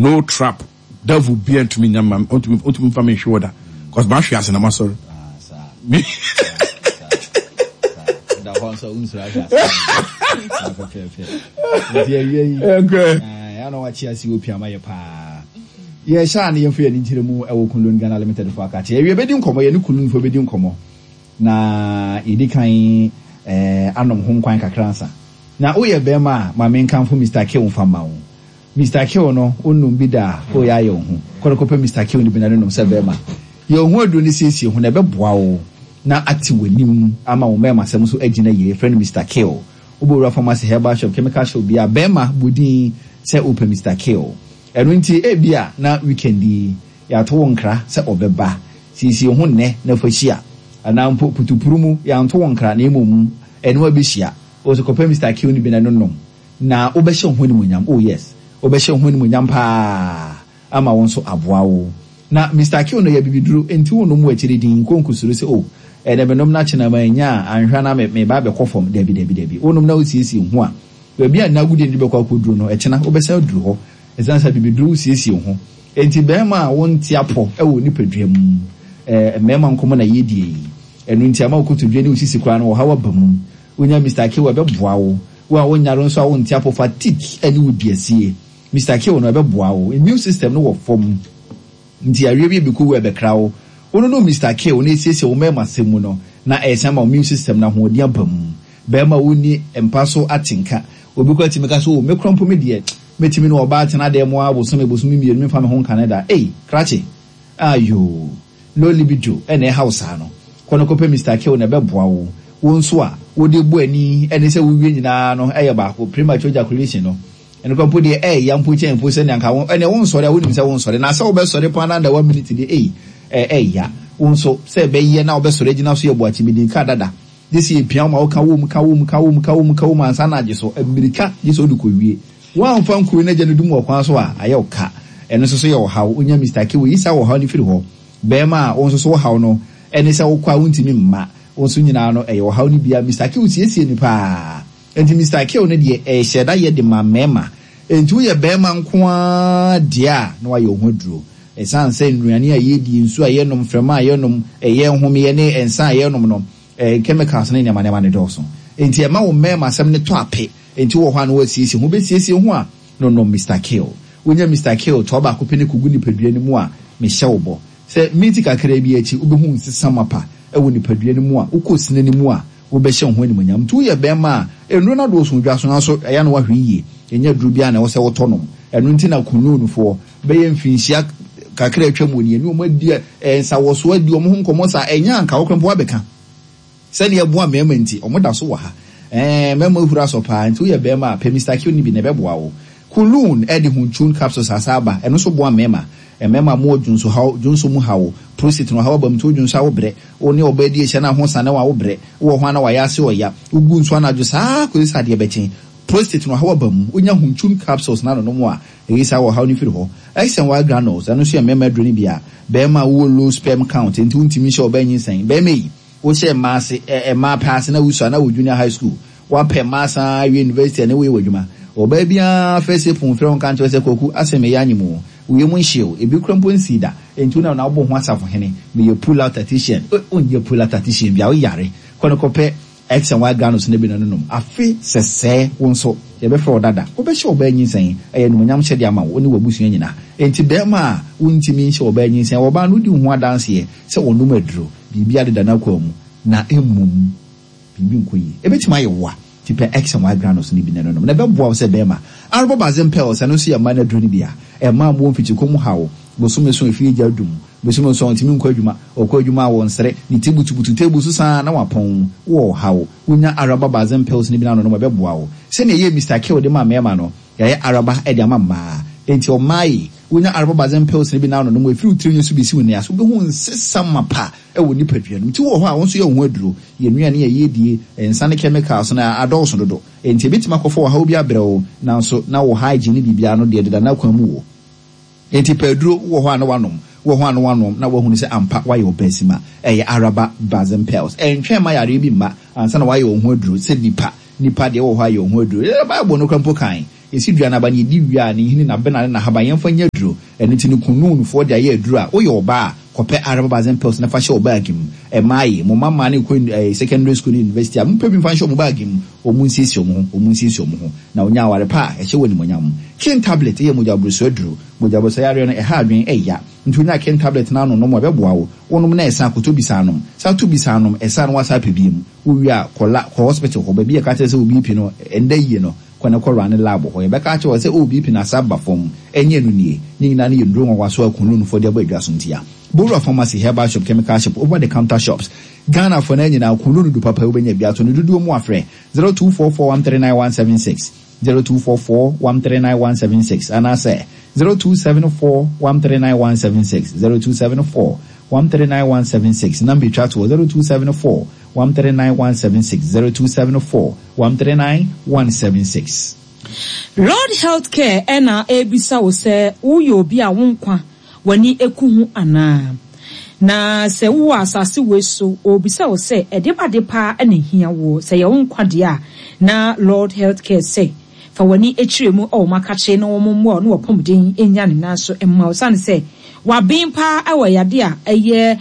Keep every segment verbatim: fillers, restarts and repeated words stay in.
No trap, devil bia ntumi nya ma ntumi ntumi nfa mi nhwe wɔ da, cause maa hwe ase na ma sɔre. Ah, saa. Da hɔ nso wonsuro ahwɛ ase saa pɛpɛɛpɛ. Nti awia yi Okay. ɛna wakye ase wɔ piama yɛ paa. Yɛhyɛ a ne yɛmfa yɛne nkyerɛ mu ɛwɔ Kunlun Ghana Limited fo akakye. Awia bɛdi nkɔmmɔ, yɛne Kunlunfoɔ bɛdi nkɔmmɔ na yɛdi kan eh, anom ho nkwan kakra nsa. Na woyɛ bɛrima a, ma menkamfo Mister Kill mfa ma wo. Mister Kill no, wonnom bi da a, woyɛ ayɛ wo ho. Kɔne kɔpɛ Mister Kill no bi na ne nom sɛ bɛrima. Yɛ wo ho aduro no, siesie ho na ɛbɛboa wo na ate w'anim ama wo mmarima asɛm nso agyina yie. Yɛfrɛ no Mister Kill. Wobɛwura pharmacy, herbal shop, chemical shop bi a, bɛrima, bɔ sɛ wopɛ Mister Kill. Ɛno nti ebia na weekend yi yɛato wo nkra sɛ ɔbɛba, siesie ho nnɛ na fa hyia, anaa mpo putupuru mu yɛanto wo nkra na mmom ɛne wabɛhyia wɔ sɛ kɔpɛ Mister Kill no bi na no nom na wobɛhyɛ wo ho animuonyam. Oh yes, wobɛhyɛ wo ho animuonyam paa ama wo nso aboa wo. Na Mister Kill no yɛ bibiduro, nti wo nom wɔ akyiri din nko nkusuro sɛ, "Oh, ɛnɛ menom na kyena ma anya a anhwɛ na meba bɛkɔ fam." Dabi, dabi, dabi. Wonom na wosiesie ho a, baabi a nnagodie no de bɛkɔ akɔduro no, ɛkyena wobɛsan aduru hɔ, ɛsiane sɛ bibiduro wosiesie ho. Enti bɛrima a wonte apɔ ɛwɔ nipadua mu, ɛɛ mmarima nkɔmɔ na yɛdie yi, ɛno nti ama wokotodwe ne wosisi koraa no wɔhaw aba mu, wonya Mister Kill, ɛbɛboa wo. Wo a wonyare nso a wonte apɔ, fatigue ɛne wo duasie, Mister Kill no ɛbɛboa wo. Immune system no wɔ fam nti awie bi ebi wo ɛbɛkra wo. Wono no Mister Kill na esiesie wo mmarima asɛm mu no na ɛsan ma immune system na ahoɔden aba mu. Bɛrima wonni mpa so atenka, obi kɔ atumi ka so, "O, mekura mpo, me deɛ mɛtumi ne ɔbaa tena dan mu a bosome bosome mmienu memfa me ho nka ne da." Ei, krakye ayo, low libido ɛna ɛha wo saa no, kɔ no kɔpɛ Mister Kill na ɛbɛboa wo. Wo nso a wode bu ani ɛne sɛ wowie nyinaa no ɛyɛ baako, premature ejaculation no, ɛno kɔ mpo deɛ ɛyɛ mpo kyɛn mpo sɛnea nka wo ɛnɛ wo nsɔre a, wonim sɛ wo nsɔre na sɛ wobɛsɔre paa na da one minute deɛ, ei, ɛɛya. Wo nso sɛ ɛbɛyɛ na wobɛsɔre agyina so yɛ boakye bi ka dada gye sɛ yɛpia wo ma woka wom, ka wom, ka wom, ka wom, ka wom ansa na agye so mmirika gye sɛ wode kɔwie. Woamfa nkuro no agya no dum wɔ kwan so a, ayɛ wo ka. Ɛno nso so yɛ ɔhaw. Wonya Mister Kill, yi saa ɔhaw no firi hɔ. Bɛrima a wo nso so wohaw no ɛne sɛ wokɔ a wontumi mma wo nso nyinaa no, ɛyɛ ɔhaw no bia, Mister Kill siesie no paa. Nti Mister Kill no deɛ, ɛhyɛ da yɛ de ma mmarima. Nti woyɛ bɛrima nko ara deɛ a, na wayɛ wo ho aduro, ɛsiane sɛ nnuane a yɛdi, nsuo a yɛnom, mframa a yɛnom, ɛyɛ nhomeɛ ne nsa a yɛnom no, ɛɛ chemicals ne nneɛma nneɛma ne dɔɔso, nti ɛma wo mmarima asɛm ne tɔ ape. Nti wɔ hɔ a na wasiesie ho, bɛsiesie ho a no no Mister Kill. Wonya Mister Kill tɔɔ baako pɛ ne kogu nipadua no mu a, mehyɛ wo bɔ sɛ minti kakra bi akyi wobɛhu nsesa mapa ɛwɔ nipadua no mu a wokɔ sine no mu a, wobɛhyɛ wo ho animonyam. Nti woyɛ bɛrima a, nnuro no adɔɔso dwa so, nanso ɛyɛ no wahwɛ yie. Ɛnyɛ duro biara na ɛwɔ sɛ wotɔ nom. Ɛno nti na kununufoɔ bɛyɛ mfinhyia kakra atwa mu nie ne wɔn adi nsawɔsoɔ, adi wɔn ho nkɔmmɔ saa, ɛnyɛ anka wɔkora mpo wabɛka sɛdeɛ ɛboa mmarima. Nti ɔmo da so wɔ ha. ɛɛ mmarima ehura sɔ paa. Nti woyɛ bɛrima a, pɛ Mister Kill ni bi na ɛbɛboa wo. Kulun ɛde huntun capsules asa aba. Ɛno nso boa mmarima. Mmarima mo wɔ dwonso haw, dwonso mu haw, prostate no haw aba mu, nti wo dwonso a wobrɛ, wo ne ɔbaa di ahyia na ho sane wa, wobrɛ wowɔ hɔ a na wayɛ ase ɔya, wogu nso anadwo saa kɔsi sɛ adeɛ bɛkyen. Prostate no haw aba mu, wonya huntun capsules na anonom a, ɛyi saa wɔ haw no firi hɔ. X and Y granules, ɛno nso yɛ mmarima aduro no bi a bɛrima a wowɔ low sperm count nti wontumi nhyɛ ɔbaa nyinsɛn. Bɛrima yi wohyɛ mmaa ase, ɛ mmaa pɛ ase na wusua na wɔ junior high school, wapɛ mmaa san awie university ɛne woyɛ wɔ adwuma, ɔbaa biara fɛ sɛ pon frɛ wo nka nkyerɛ sɛ, "Kwaku asɛ meyɛ anyim o," woyɛ mu nhyew ebi kura mpo nsii da. Nti wonam na wobɔ ho asafo hene, meyɛ pull out tactician. Wonyɛ pull out tactician bi a, woyare. Kɔ no kɔpɛ X and Y granules no bi no nom. Afe sɛsɛɛ wo nso yɛbɛfrɛ wo dada, wobɛhyɛ ɔbaa nyinsɛn, ɛyɛ animuonyam hyɛde ama wo ne w'abusua nyinaa. Enti bɛrima a wontumi nhyɛ ɔbaa nyinsɛn, ɔbaa no wodi wo ho adanseɛ sɛ ɔnom aduro, biribi adeda no akɔ mu na mmom biribi nkɔ yie, ɛbɛtumi ayɛ wo a, nti pɛ X and Y granules no bi na ɛnonom na ɛbɛboa wo sɛ bɛrima. Arobɔbazen pills, ɛno nso yɛ mmaa no aduro no bi a ɛma mo mfikyikɔ mu haw. Bosome so efie gya dum, bosome so ɔntumi nkɔ adwuma, ɔkɔ adwuma a wɔnsere ne ti butubutu table so saa na wapɔn wɔ haw, wonya Araba Bazen pills no bi na anonom, ɛbɛboa wo. Sɛnea ɛyɛ Mister Kill de ma mmarima no, yɛayɛ Araba de ama mmaa. Enti ɔmmaa yi, wonya Araba Bazen pills no bi na anonom, efiri wo tiri nwi so besi wo nan ase, wobɛhu nsesa mapa ɛwɔ nipadua no. Nti wɔ hɔ a wɔn nso yɛ wo ho aduro. Yɛn nnuane a yɛdie, nsa ne chemicals no adɔɔso dodo, enti ebitumi akɔfɔ ɔhaw bi abrɛ wo, nanso na wo hygiene biribiara no deɛ deda n'akwan mu wɔ. Enti pɛ aduro wɔ hɔ a na wanom, wɔ hɔ a na wanom na wahunu sɛ ampa wayɛ ɔbaasima. Ɛyɛ Araba Bazen pills. Ɛntwɛn ma yareɛ bi mma ansa na wayɛ wo ho aduro sɛ nipa. Nipa deɛ wɔ hɔ ayɛ wo ho aduro. Ɛyɛ Bible no kora mpo kan Yɛsi dua no aba no, yɛdi wie a, ne nhini, n'abena ne n'ahaban, yɛmfa nyɛ aduro. Ɛno nti no, Kununfoɔ de ayɛ aduro a, woyɛ ɔbaa a, kɔpɛ Arababazin pills na fa hyɛ wo bag mu. Ɛmaa ye, mo mma mmaa no kɔ eh, secondary school ne university a, mompɛ bi mfa nhyɛ wɔn bag mu. Wɔn nsiesie wɔn ho, wɔn nsiesie wɔn ho. Na wonya aware pa a, ɛhyɛ wo animuonyam. King tablet yɛ mogya boroso aduro. Mogya boroso yareɛ no, ɛha adwene, ɛya. Nti wonya King tablet no anonom a, ɛbɛboa wo. Wonom na ɛsa, kɔtɔ bi saa nom. Sa to bi saa nom, ɛsa no woasa apɛ biom. Wowie a, kɔ la, kɔ hospital hɔ, baabi a yɛka kyerɛ sɛ wo B P no, ɛnda yie no, kɔ na kɔ run lab hɔ. Yɛbɛka akyerɛ wo sɛ, oh, B P no asa aba fam. Ɛnyɛ ɛno nie. Ne nyinaa no yɛ nnuro nwanwaso a Kunlunfoɔ de abɔ adwa so ntia. Bowura pharmacy, herbal shop, chemical shop, over the counter shops. Ghana for na nyinaa, Kunlun du papa wobɛnya bi ato no dodoɔ mu afrɛ zero two four four one three nine one seven six, zero two four four one three nine one seven six, anaasɛ zero two seven four one three nine one seven six, zero two seven four one three nine one seven six. Number twa toɔ, zero two seven four one three nine one seven six, zero two seven four one three nine one seven six. Lord Healthcare ɛna ebisa wo sɛ woyɛ obi a wo nkwa w'ani eku ho anaa, na sɛ wowɔ asase wei so, obisa wo sɛ ɛde ba de paa ɛna ehia wo sɛ yɛ wo nkwa deɛ a, na Lord Healthcare sɛ fa w'ani akyire mu ɛwɔ makakye na wɔn mmoa na wɔpɔmuden nya ne nan so mma wo, sane sɛ waben paa ɛwɔ yade a ɛyɛ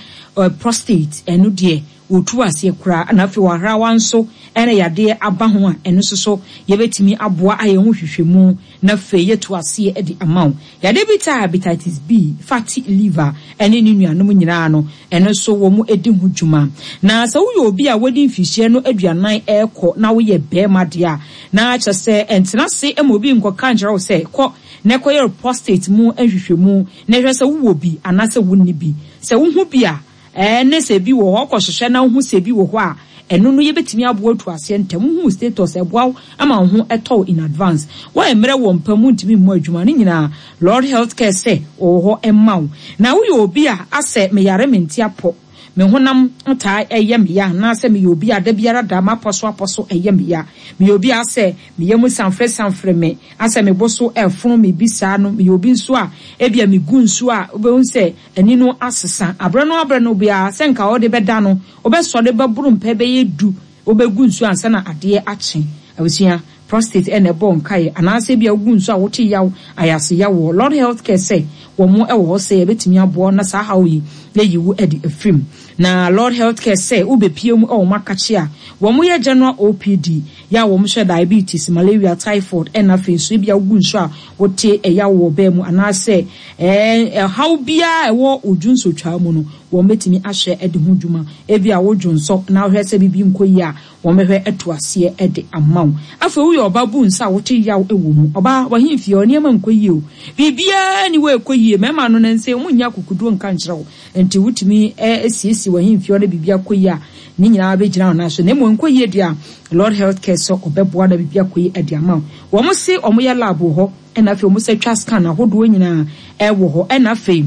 prostate, ɛno deɛ wɔtu aseɛ koraa, na afei wahrawa nso ɛna yadeɛ aba ho a, ɛno nso so yɛbɛtumi aboa ayɛ ho hwehwɛmu na afei yɛtu aseɛ de ama wo. Yadeɛ bi taa hepatitis B, fatty liver ɛne ne nuanom nyinaa no, ɛno nso wɔn di ho dwuma. Na sɛ woyɛ obi a wɔdi mfihyia no aduanan ɛrekɔ na woyɛ bɛrima deɛ a, na kyerɛ sɛ ɛntena ase ma obi nkɔka nkyerɛ wo sɛ kɔ na ɛkɔyɛ prostate mu nhwehwɛmu na ɛhwɛ sɛ wowɔ bi anaasɛ wonni bi. Sɛ wohu bi a, ɛɛ ne sɛ bi wɔ hɔ, kɔhwehwɛ na wohu sɛ bi wɔ hɔ a, ɛno no yɛbɛtumi aboa atu aseɛ ntɛm. Wohu status, ɛboa wo ama wo ho ɛtɔ in advance. Wɔyɛ mmerɛ wɔ mpa mu, ntumi mmɔ adwuma no nyinaa, Lord Healthcare sɛ ɔwɔ hɔ ɛma wo. Na woyɛ obi a asɛ meyare mente apɔ, me honam taa ɛyɛ me ya, anaasɛ meyɛ obi a da biara da mapɔ so apɔ so ɛyɛ me ya, meyɛ obi a asɛ meyɛ mu sanfrɛ sanfrɛ me, asɛ me bo so ɛfono me bi saa no, meyɛ obi nso a ebia megu nsuo a, wobɛhu sɛ ani no asesa aberɛ no aberɛ no biara, sɛ nka wɔde bɛda no, wobɛsɔre bɛboro mpɛ bɛyɛ du wobɛgu nsuo ansa na adeɛ akye. Abusua, prostate ɛna ɛbɔ nkaeɛ, anaasɛ bi a wogu nsuo a wote yaw, ayase yaw wɔ. Lord Healthcare sɛ wɔn ɛwɔ hɔ sɛ yɛbɛtumi aboa na saa haw yi yɛyi wo ɛde afirim. Na Lord Healthcare sɛ wobɛpie mu ɛwɔ makakye a, wɔn yɛ general O P D yɛ a wɔn hwɛ diabetes, malaria, typhoid, ɛna afei nso ebi a wogu nsuo a wote ɛyaw wɔ bɛɛ mu, anaasɛ ɛɛ ɛhaw biara ɛwɔ odwu nsotwaa mu no, wɔn bɛtumi ahyɛ ɛde ho dwuma. Ebi a wodwo nsɔ na wohwɛ sɛ bibi nkɔ yie a, wɔn bɛhwɛ ɛto aseɛ ɛde ama wo. Afei woyɛ ɔba bu nsa a wote yaw ɛwɔ mu, ɔbaa wahemfie ɔ nneɛma nkɔ yie o, biribiara ni wɔ ɛkɔ yie, mmarima no ne nsa wɔn nyɛ akokoduo nka nkyerɛ wo, nti wotumi ɛsiesie wahemfie ɔ ne biribi akɔ yie a, ne nyinaa bɛgyina wɔn nan so. Na mmom nkɔ yie deɛ a, Lord Healthcare sɛ ɔbɛboa na biribi akɔ yie ɛde ama wo. Wɔn se wɔn yɛ lab wɔ hɔ, ɛna afei wɔn sɛ twa scan ahodoɔ nyinaa ɛwɔ hɔ, ɛna afei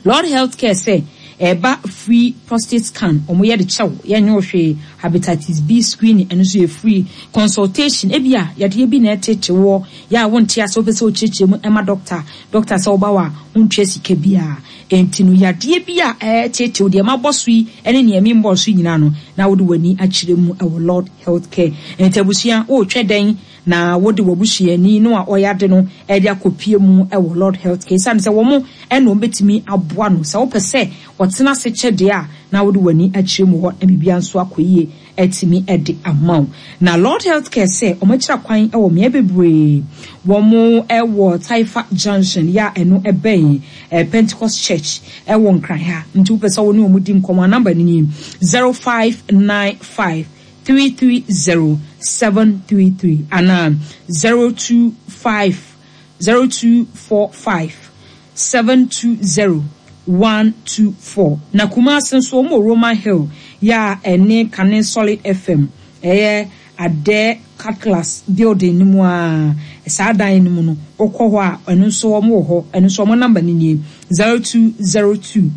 Lord Healthcare sɛ ɛba free prostate scan, wɔn yɛ de kyɛw, yɛnyɛ hwee. Hepatitis B screening, ɛno nso yɛ free. Consultation, ebi a yadeɛ bi na ɛtete wɔ yɛ a wonte ase, wopɛ sɛ wokyerɛkyerɛ mu ɛma doctor, doctor sɛ woba wɔ a, wontua sika biara. Nti no yadeɛ bi a ɛtete deɛ mabɔ so yi ɛne nea mi mbɔ so nyinaa no, na wode w'ani akyerɛ mu ɛwɔ Lord Healthcare. Nti abusua, wɔretwɛ dɛn na wode w'abusuani no a ɔyɛ ade no ɛde akɔpie mu ɛwɔ Lord Healthcare? Esiane sɛ wɔn ɛna wɔn bɛtumi aboa no. Sɛ wopɛ sɛ wɔtena ase kyɛ deɛ a, na wode w'ani akyerɛ mu hɔ na biribiara nso akɔ yie ɛtumi ɛde ama wo. Na Lord Healthcare sɛ wɔn akyerɛ kwan ɛwɔ mmea bebree. Wɔn ɛwɔ Taifa Junction yɛ a ɛno ɛbɛn ɛɛ Pentecost Church ɛwɔ Nkran ha. Nti wopɛ sɛ wɔne wɔn di nkɔmɔ a, number no nie: zero five nine five three three zero seven three three anaa zero two five zero two four five seven two zero one two four. Na Kumasi nso, wɔn wɔ Roman Hill yɛ a ɛne Kane Solid F M, ɛyɛ Adɛ Cutlass building no mu a, saa dan no mu no, wokɔ hɔ a, ɛno nso wɔn wɔ hɔ. Ɛno nso wɔn number no nie: zero two zero two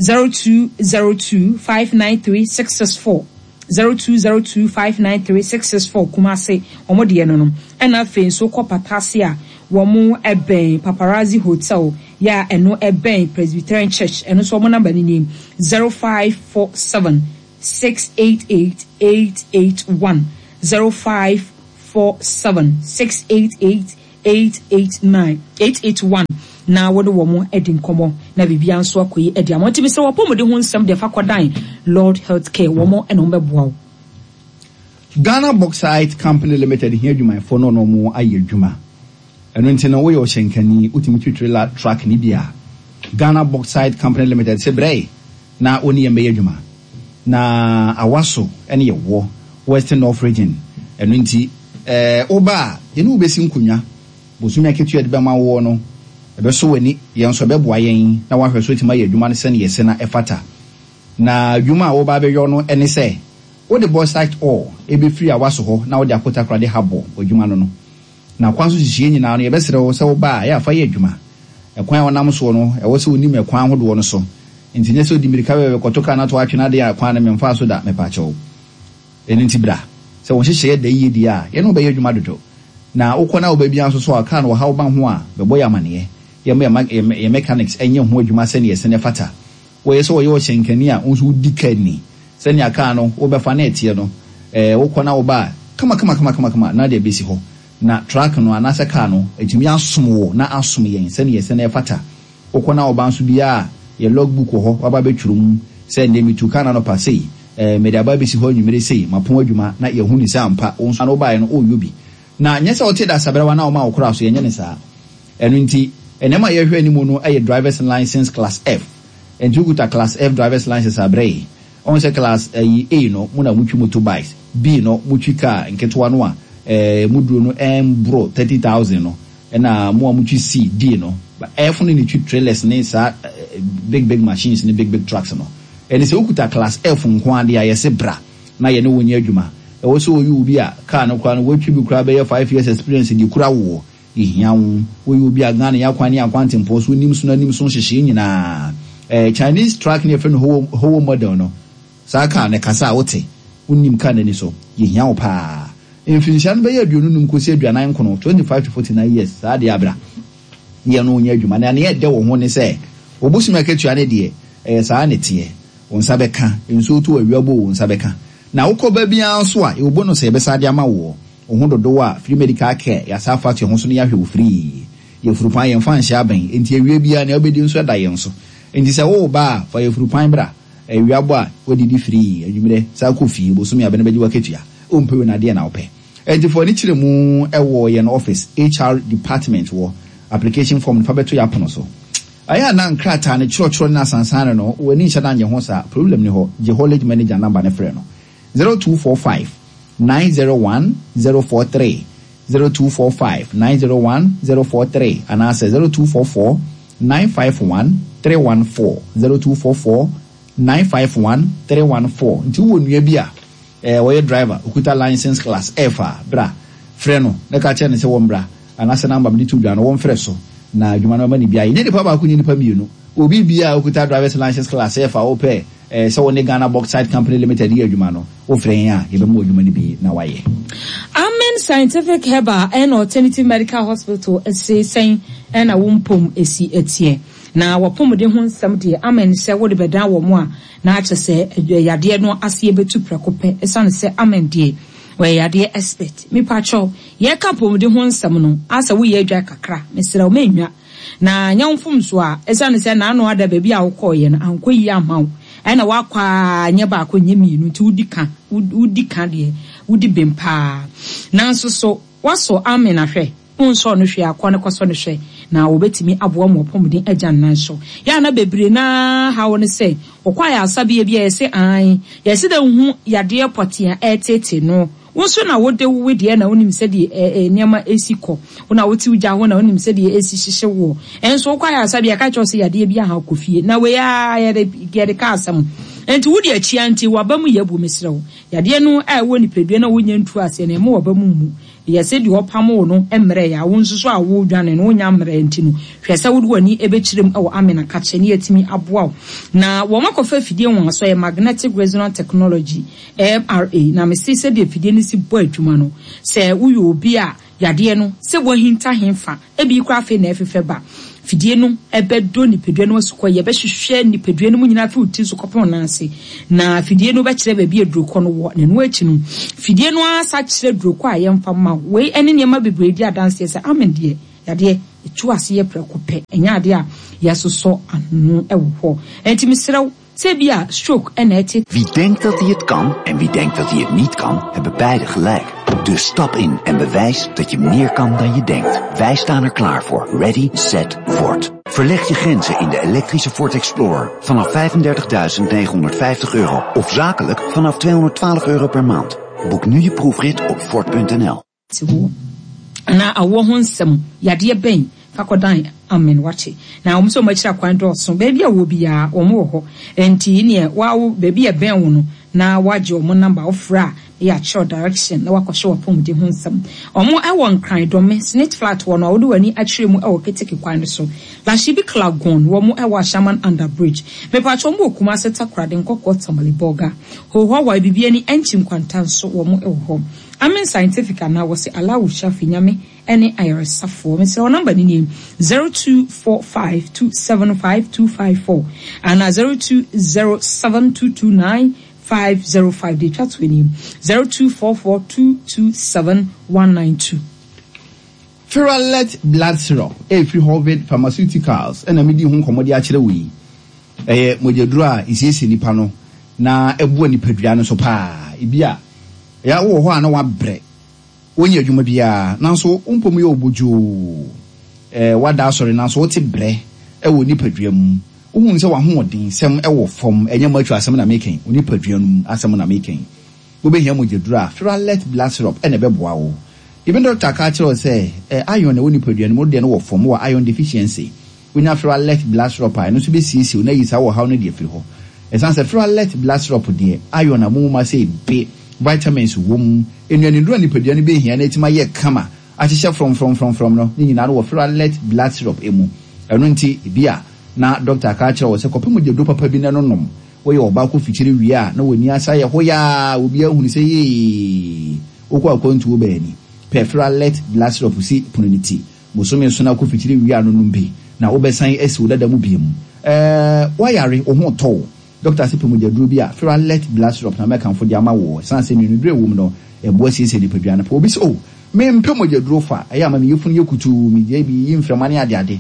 zero two zero two five nine three six six four, zero two zero two five nine three six six four. Kumase wɔn deɛ no no. Ɛna afei nso kɔ Patase a, wɔn ɛbɛn Paparazzi Hotel yɛ a ɛno ɛbɛn Presbyterian Church. Ɛno nso wɔn number no nie: zero five four seven six eight eight eight eight one, zero five four seven six eight eight eight eight nine eight eight one na wɔde wɔn adi nkɔmɔ na biribiara nso akɔ yi adi ama. Ntumi sɛ wɔpɔmuden ho nsɛm deɛ, fa kɔdan Lord Healthcare, wɔn ɛna wɔn bɛboa wo. Ghana Bauxite Company Limited hia adwumayɛfoɔ no, ɔno ɔmo ayɛ adwuma. Ɛno nti no, woyɛ ɔhyɛnkani, wotumi twi trailer truck ne bi a, Ghana Bauxite Company Limited sɛ brɛ na wɔne yɛn bɛyɛ adwuma. Na Awaso ɛne yɛwɔ Western North Region. Ɛno nti ɛɛ woba a, yɛne wo bɛsi nkonnwa. Bosome aketewa de bɛma woɔ no, ɛbɛso w'ani, yɛn nso ɛbɛboa yɛn na wahwɛ so atumi ayɛ adwuma no sɛne yɛsɛ na ɛfata. Na adwuma a woba abɛyɔ no ɛne sɛ wode bauxite ore ɛbɛfiri Awaso hɔ na wode akɔ Takoradi habɔ adwuma no no Na kwan so hyehyɛ nyinaa no, yɛbɛsrɛ wo sɛ woba a, ɛyɛ afa yɛ adwuma. Ɛkwan a wɔnam soɔ no, ɛwɔ sɛ wonim ɛkwan ahodoɔ no so. Nti nyɛ sɛ wodi mmirika bɛbɛ kɔto kaa no ato atwene adeɛ a, kwan no memfaa so da, mepaakyɛw. Ɛno nti bra sɛ wɔn hyehyɛeɛ da yie deɛ a, yɛne wobɛyɛ adwuma dodo. Na wokɔ na woba biara nso so a, kaa no wɔhaw ba ho a, bɛbɔ yɛ amanneɛ. Yɛma yɛ mechanics ɛnyɛ ho adwuma sɛneɛ ɛsɛ ne fata. Wɔyɛ sɛ wɔyɛ ɔhyɛnkani a, wo nso wodi kaa ni sɛnea kaa no wobɛfa na ɛteɛ no, ɛɛ wokɔ na woba a, kama kama kama kama kama na deɛ bɛsi hɔ na truck no anaasɛ kaa no atumi asom wo na asom yɛn sɛnea ɛsɛ na ɛfata. Wokɔ na woba nso biara, yɛ log book wɔ hɔ, waba bɛtwerɛ mu sɛ nnɛ metu kaa no anɔpa sei, ɛɛ mede aba bɛsi hɔ anwummere sei, mapɔn adwuma, na yɛhu ne sɛ ampa wo nso ano wobaeɛ no ɔreyɔ bi. Na nyɛ sɛ wote da sabrɛwa na woma wo koraa so, yɛnyɛ ne saa. Ɛno nti nneɛma a yɛhwɛ anim no yɛ drivers license class F. Nti wokuta class F drivers license abrɛ yi. Ɔhu sɛ class ɛyi A no, mo na motwi motorbikes, B no, motwi car nketewa no a ɛɛ muduro no ɛmboro thirty thousand no, ɛna mo a motwi C, D no. F no ne twi trailers ne saa big big machines ne big big trucks no. Ɛne sɛ wokuta class F nko adeɛ a, yɛse bra na yɛne wo nyɛ adwuma. Ɛwɔ sɛ wɔyɛ obi a car no koraa no wɔatwi bi koraa bɛyɛ five years experience de kura woɔ, yɛhia wo. Woyɛ obi a Ghana yɛ akwan ne akwantempɔn so nim so no anim so nhyehyɛe nyinaa. ɛɛ Chinese truck ne yɛfrɛ no Howo Howo model no, saa car no kasa a wote, wonim car n'ani so, yɛhia wo paa. Mfinhyia no bɛyɛ aduonu num kɔsi aduanan nkono, twenty five to forty nine years, saa deɛ abra yɛn no nyɛ adwuma. Na nea ɛdɛ wɔ ho ne sɛ obosome akatua ne deɛ, ɛyɛ saa ne teɛ, wo nsa bɛka. Nsuo to, awia bɔ, wo nsa bɛka. Na wokɔ ba biara nso a, yɛwɔ bonus a yɛbɛsa de ama woɔ. Wo ho dodoɔ a, free medical care, yɛasa afa to ho so no, yɛahwɛ wo free. Yɛfuru yɛmfa nhyɛ abɛn, nti awia biara nea wobɛdi nso ɛda yɛn so. Nti sɛ wowɔ ba a, fa yɛfuru pan bra. Awia bɔ a, wadidi free, anwummerɛ saa kɔ fie. Bosome abɛn bɛgye wakatua. Wompɛ wei na adeɛ na wopɛ. Nti fo ani kyerɛ mu ɛwɔ yɛn office, H R department wɔ. Application form no, fa bɛto yɛ apono so. Ɛyɛ a na nkrataa no kyerɛkyerɛ no asansan no, w'ani nhyɛ da nyɛ ho saa, problem ni hɔ. Gye haulage manager number ne frɛ no: zero two four five nine zero one zero four three, zero two four five nine zero one zero four three, anaasɛ zero two four four nine five one three one four, zero two four four nine five one three one four. Nti wowɔ nua bi a ɛɛ wɔyɛ driver, okuta license class F a, bra frɛ no na ka kyerɛ no sɛ wɔn bra, anaasɛ number mi de to dwa no, wɔn frɛ so na adwuma no bɛma ne bi ayɛ. Nyɛ nipa baako, nyɛ nipa mmienu, obi bia a okuta drivers license class F a wopɛ ɛɛ sɛ wɔne Ghana Bauxite Company Limited yɛ adwuma no, wofrɛ yɛn a, yɛbɛma wɔ adwuma no bi na wayɛ. Amen Scientific Herbal and Alternative Medical Hospital ɛse sɛn ɛna wo mpom esi ɛteɛ na wɔpɔmuden ho nsɛm deɛ, amen sɛ wode bɛdan wɔ mo a, na akyɛ sɛ yadeɛ no aseɛ bɛtu prɛko pɛ, ɛsiane sɛ amen deɛ wɔyɛ yadeɛ expert. Mipakyɛw, yɛka pɔmuden ho nsɛm no asɛ woyɛ adwa kakra, mesrɛ wo, mɛnwa na nyɛ wo mfomso a, ɛsiane sɛ n'ano ada baabi a wokɔɔyɛ no ankɔ yie ama wo, ɛna wakɔ a nyɛ baako, nyɛ mmienu, nti wodi ka, wodi ka deɛ wodi bem paa. Nanso so wasɔ amen ahwɛ? Wonsɔ no hwɛ akɔ ne kɔsɔ no hwɛ na wɔbɛtumi aboa ma ɔpɔmuden agya nnan so. Yɛa na bebree naa haw ne sɛ wɔkɔ ayɛ asabea bi a, yɛsɛ an yɛsɛ dɛ hu yadeɛ pɔte a ɛretete no. Wo nso na wode wo deɛ na wonim sɛdeɛ nneɛma esi kɔ wo, na wote gya ho na wonim sɛdeɛ esi hyehyɛ woɔ. Ɛnso wokɔ ayɛ asabea ka kyerɛ sɛ yadeɛ bi aha, kɔ fie na wei a yɛde yɛde ka asɛm. Nti wode akyia nti waba mu yɛ bu. Mesrɛ wo, yadeɛ no a ɛwɔ nipadua na wonya ntu aseɛ na ɛma waba mu mu yɛsɛ deɛ ɔpam wo no mmerɛ yɛ a, wo nso so a wodwane no wonya mmerɛ. Nti no hwɛ sɛ wode w'ani bɛkyerɛ mu wɔ amena kakyɛ ne yɛatumi aboa wo. Na wɔn akɔfa afidie wɔn aso yɛ magnetic resonance technology, M R A, na mese sɛdeɛ afidie no si bɔ adwuma no, sɛ woyɛ obi a Yadeɛ no sɛ wɔahinta hemfa ebi kora afei na ɛfefɛ ba fidie no ɛbɛdɔ nipadua no asukɔ, yɛbɛhwehwɛ nipadua no mu nyinaa fi wo ti so kɔpem nan ase, na fidie no bɛkyerɛ baabi adurokɔ no wɔ. Na ɛno akyi no, fidie no asa kyerɛ durokɔ a yɛmfa ma wo. Wei ɛne nneɛma bebree di adanseɛ sɛ amen deɛ, yadeɛ ɛtu ase yɛ prɛko pɛ, ɛnyɛ adeɛ a yɛasosɔ ano ɛwɔ hɔ. Ɛnti mesrɛ wo sɛ bi a stroke ɛna ɛte. Wie denkt dat hij het kan en wie denkt dat hij het niet kan, hebben beide gelijk. Dus stap in en bewijs dat je meer kan dan je denkt. Wij staan er klaar voor. Ready, set, Ford. Verleg je grenzen in de elektrische Ford Explorer vanaf vijfendertigduizend negenhonderdvijftig euro of zakelijk vanaf tweehonderdtwaalf euro per maand. Boek nu je proefrit op Ford punt N L. Na awɔ ho nsɛm, yadeɛ bɛn fakɔdan amen wakye na wɔn nso wɔn akyiri akwan dɔɔso. Baabi a wɔ biara wɔn wɔ hɔ, nti neɛ wawo baabi a ɛbɛn wo no na wagye wɔn number, wofrɛ a yɛ akyerɛw direction na wakɔhyɛ wɔ apɔmuden ho nsɛm. Wɔn ɛwɔ Nkran Dɔme Snit Flat wɔ no a wɔde wɔn ani akyerɛ mu ɛwɔ Keteke kwan no so, Lashibi Klagon. Wɔn ɛwɔ Ashaman Under Bridge. Mepatwa wɔn wɔ Kumase, Takoradi, Nkɔkɔ, Tamale, Bɔga, Hohoa, Bibiani, Ɛnkyi Nkwanta nso wɔn ɛwɔ hɔ. Amen Scientific anaa wɔsi Allahu Shafi, Nyame ɛne ayaresafoɔ. Mesrɛ wo, number no nie: zero two four five two seven five two five four anaa zero two zero seven two two nine five zero five. De twa to anim, zero two four four two two seven one nine two. Ferralet Blood Syrup ɛfiri Hovid Pharmaceuticals ɛna medi ho nkɔmmɔ de akyerɛ wo yi. Ɛyɛ mogyaduro a ɛsiesie nipa no na ɛboa nipadua no so paa. Ebi a ɛyɛ wowɔ hɔ a na wabrɛ, wonyɛ adwuma biara nanso wompom yɛ obodwoo, ɛɛ wada asɔre nanso wote brɛ ɛwɔ nipadua mu, wohu sɛ w'ahoɔden sɛm ɛwɔ fam. Ɛnyɛ mo atwa asɛm na mekɛn, wo nipadua no mu asɛm na mekɛn. Wobɛhia mogyaduro a, Ferralet Blood Syrup ɛna ɛbɛboa wo. Even doctor ka kyerɛ wo sɛ ɛ iron na ɛwɔ nipadua no mu deɛ no wɔ fam, wɔ iron deficiency, wonya Ferralet Blood Syrup a, ɛno nso bɛsiesie wo na yi saa wɔ haw no deɛ firi hɔ. Ɛsiane sɛ Ferralet Blood Syrup deɛ, iron a mumu ma sɛ ebe, vitamins wɔ mu, nnuaniduro a nipadua no bɛhia na ɛtumi ayɛ kama ahyehyɛ frɔmfrɔmfrɔmfrɔm no ne nyinaa no wɔ Ferralet Blood Syrup emu. Ɛno nti ebi a na doctor ka kyerɛ wɔ sɛ kɔpɛ mogyaduro papa bi na no nom. Woyɛ ɔbaa kɔ fikyiri wie a na w'ani asa yɛ hoyaa, obi ahunu sɛ yee wokɔ akwantuo baani, pɛ Ferralet Blood Syrup si pono ne ti. Bosome so na kɔ fikyiri wie a no nom bi na wobɛsan asi wo dada mu biem. ɛɛ wayare, wo ho tɔ wo, doctor sɛ pɛ mogyaduro bi a, Ferralet Blood Syrup na mɛkamfo de ama wo. Ɛsiane sɛ nnuaniduro ɛwɔ mu no ɛboa siesie nipadua no pɛ. Obi sɛ, "O, mempɛ mogyaduro fa, ɛyɛ ama me yɛfunu yɛ kutuu, megye bi yi mframa ne adeade."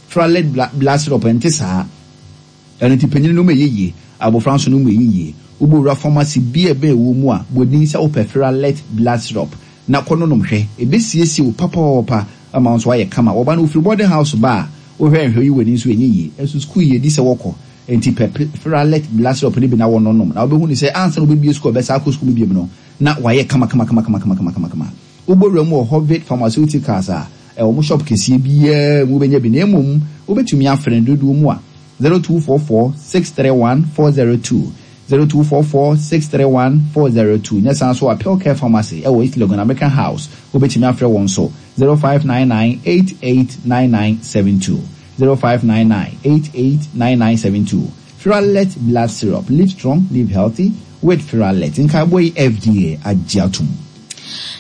Ferralet Blood Syrup ɛnte saa. Ɛno nti panyin no mu ɛyɛ yie, abɔfra nso no mu ɛyɛ yie. Wobɛwura pharmacy bi a ɛbɛn wɔ mu a, bɔdin sɛ wopɛ Ferralet Blood Syrup na kɔ no nom hwɛ. Ɛbɛsiesie wo papaapa ama wo nso ayɛ kama. Wɔba no wofiri boarding house ba a, wohwɛ nhwɛ yi w'ani nso ɛnyɛ yie, ɛnso sukuu yɛ di sɛ wɔkɔ nti pɛ Ferralet Blood Syrup no bi na wɔno nom na wobɛhu ne sɛ ansa na wobɛbie sukuu a ɔbɛsa akɔ sukuu mu biom no na wayɛ kama kama kama kama kama kama kama kama. Wobɛwura mu wɔ Hovid Pharmaceuticals a ɛwɔ mo shop kɛseɛ biara mu, wobɛnya bi. Na mmom wobɛtumi afrɛ no dodoɔ mu a, zero two four four six three one four zero two, zero two four four six three one four zero two. Nyɛ saa nso a, Care Pharmacy ɛwɔ East Legon, American House, wobɛtumi afrɛ wɔn so zero five nine nine eight eight nine nine seven two, zero five nine nine eight eight nine nine seven two. Ferralet Blood Syrup, live strong, live healthy with Ferralet. Nkaebɔ yi, F D A agye atom.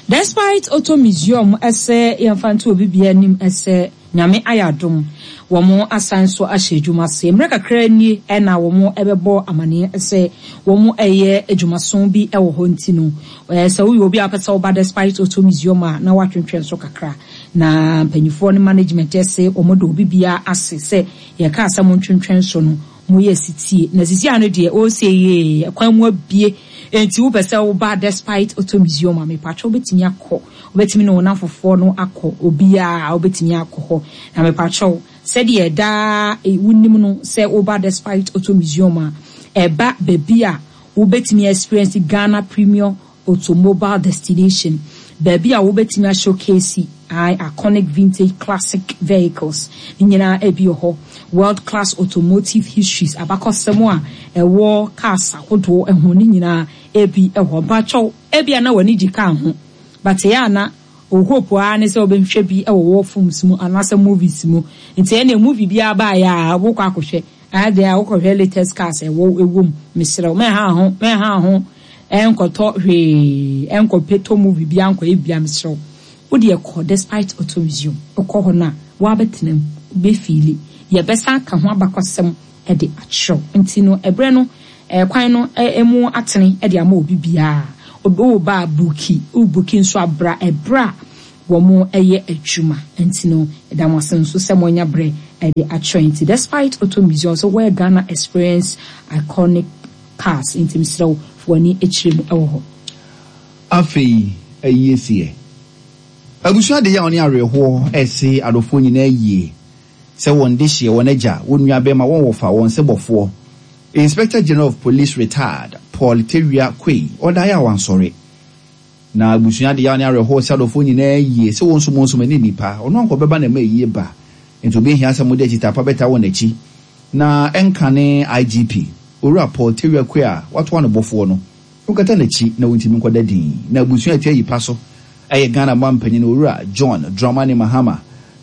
Despite Auto Museum ɛsɛ yɛmfa nto obi bia anim ɛsɛ Nyame ayɛ adom, wɔn asan so ahyɛ adwuma ase. Mmerɛ kakra nie ɛna wɔn ɛbɛbɔ amaneɛ sɛ wɔn ɛyɛ adwumason bi ɛwɔ hɔ. Nti no ɛɛ sɛ woyɛ obi a pɛ sɛ woba Despite Auto Museum a, na watwentwɛn so kakra na mpanyinfoɔ ne management ɛsɛ wɔn de obi bia ase sɛ yɛka asɛm ntwentwɛn so no mo yɛ sitie na sisi ano deɛ ɔresie yie, kwan mu abie. Nti wopɛ sɛ woba Despite Auto Museum a, mepatwa wobɛtumi akɔ, wobɛtumi ne wɔn afofoɔ no akɔ, obiara wobɛtumi akɔ hɔ. Na mepatwa sɛdeɛ daa wonim no sɛ woba Despite Auto Museum a, ɛba baabi a wobɛtumi experience Ghana premium automobile destination, baabi a wobɛtumi ashowcase iconic vintage classic vehicles ne nyinaa ebi wɔ hɔ, world class automotive histories, abakɔsɛm a ɛwɔ cars ahodoɔ ɛho ne nyinaa ebi ɛwɔ. Mpakyɛw, ebi a na w'ani gye car ho but ɛyɛ ana o hope a ne sɛ wobɛhwɛ bi ɛwɔ wɔ films mu anaasɛ movies mu, nti ɛna movie bi abaayɛ a wokɔ akɔhwɛ adeɛ a wokɔhwɛ latest cars ɛwɔ ɛwɔ mu. Mesrɛ wo, mɛha ho mɛha ho ɛnkɔtɔ hwee, ɛnkɔpɛ tɔ movie bi ankɔ ebia. Mesrɛ wo, Wo deɛ kɔ Despite Auto Museum, wokɔ hɔ no a, woabɛtena mu, wobɛfiili. Yɛbɛsan aka ho abakɔsɛm de akyerɛ wo. Nti no, ɛberɛ no, kwan no mu atene de ama obi biara. Woba a, buki, wobuki nso a, bra ɛberɛ a wɔyɛ adwuma. Nti no, yɛda mo ase nso sɛ moanya berɛ de akyerɛ. Nti Despite Auto Museum nso, where Ghana experience iconic cars. Nti mesrɛ wo, fa w'ani kyerɛ mu wɔ hɔ. Afei ayie seɛ. Abusua de yaw ne awerɛhoɔ rese adɔfoɔ nyinaa yie sɛ wɔn dehyeɛ, wɔn agya, wɔn nuabɛrima, wɔn wɔfa, wɔn sebɔfoɔ, Inspector General of Police Retired Paul Tawia Quaye, ɔdaeɛ a wansɔre. Na abusua de yaw ne awerɛhoɔ rese adɔfoɔ nyinaa yie sɛ wɔn nso wɔn nso ani nnipa, ɔno anka ɔbɛba na ɛma ayie ba, nti ɔbɛhia sɛ mode akyitaapa bɛtaa wɔn akyi. Na ɛnkane I G P, Owura Paul Tawia Quaye a watoa no bɔfoɔ no, wonkata n'akyi na wontumi nkɔda din. Na abusua a ɛte ayi pa so yɛ Ghana mampanyin Owura John Dramani Mahama,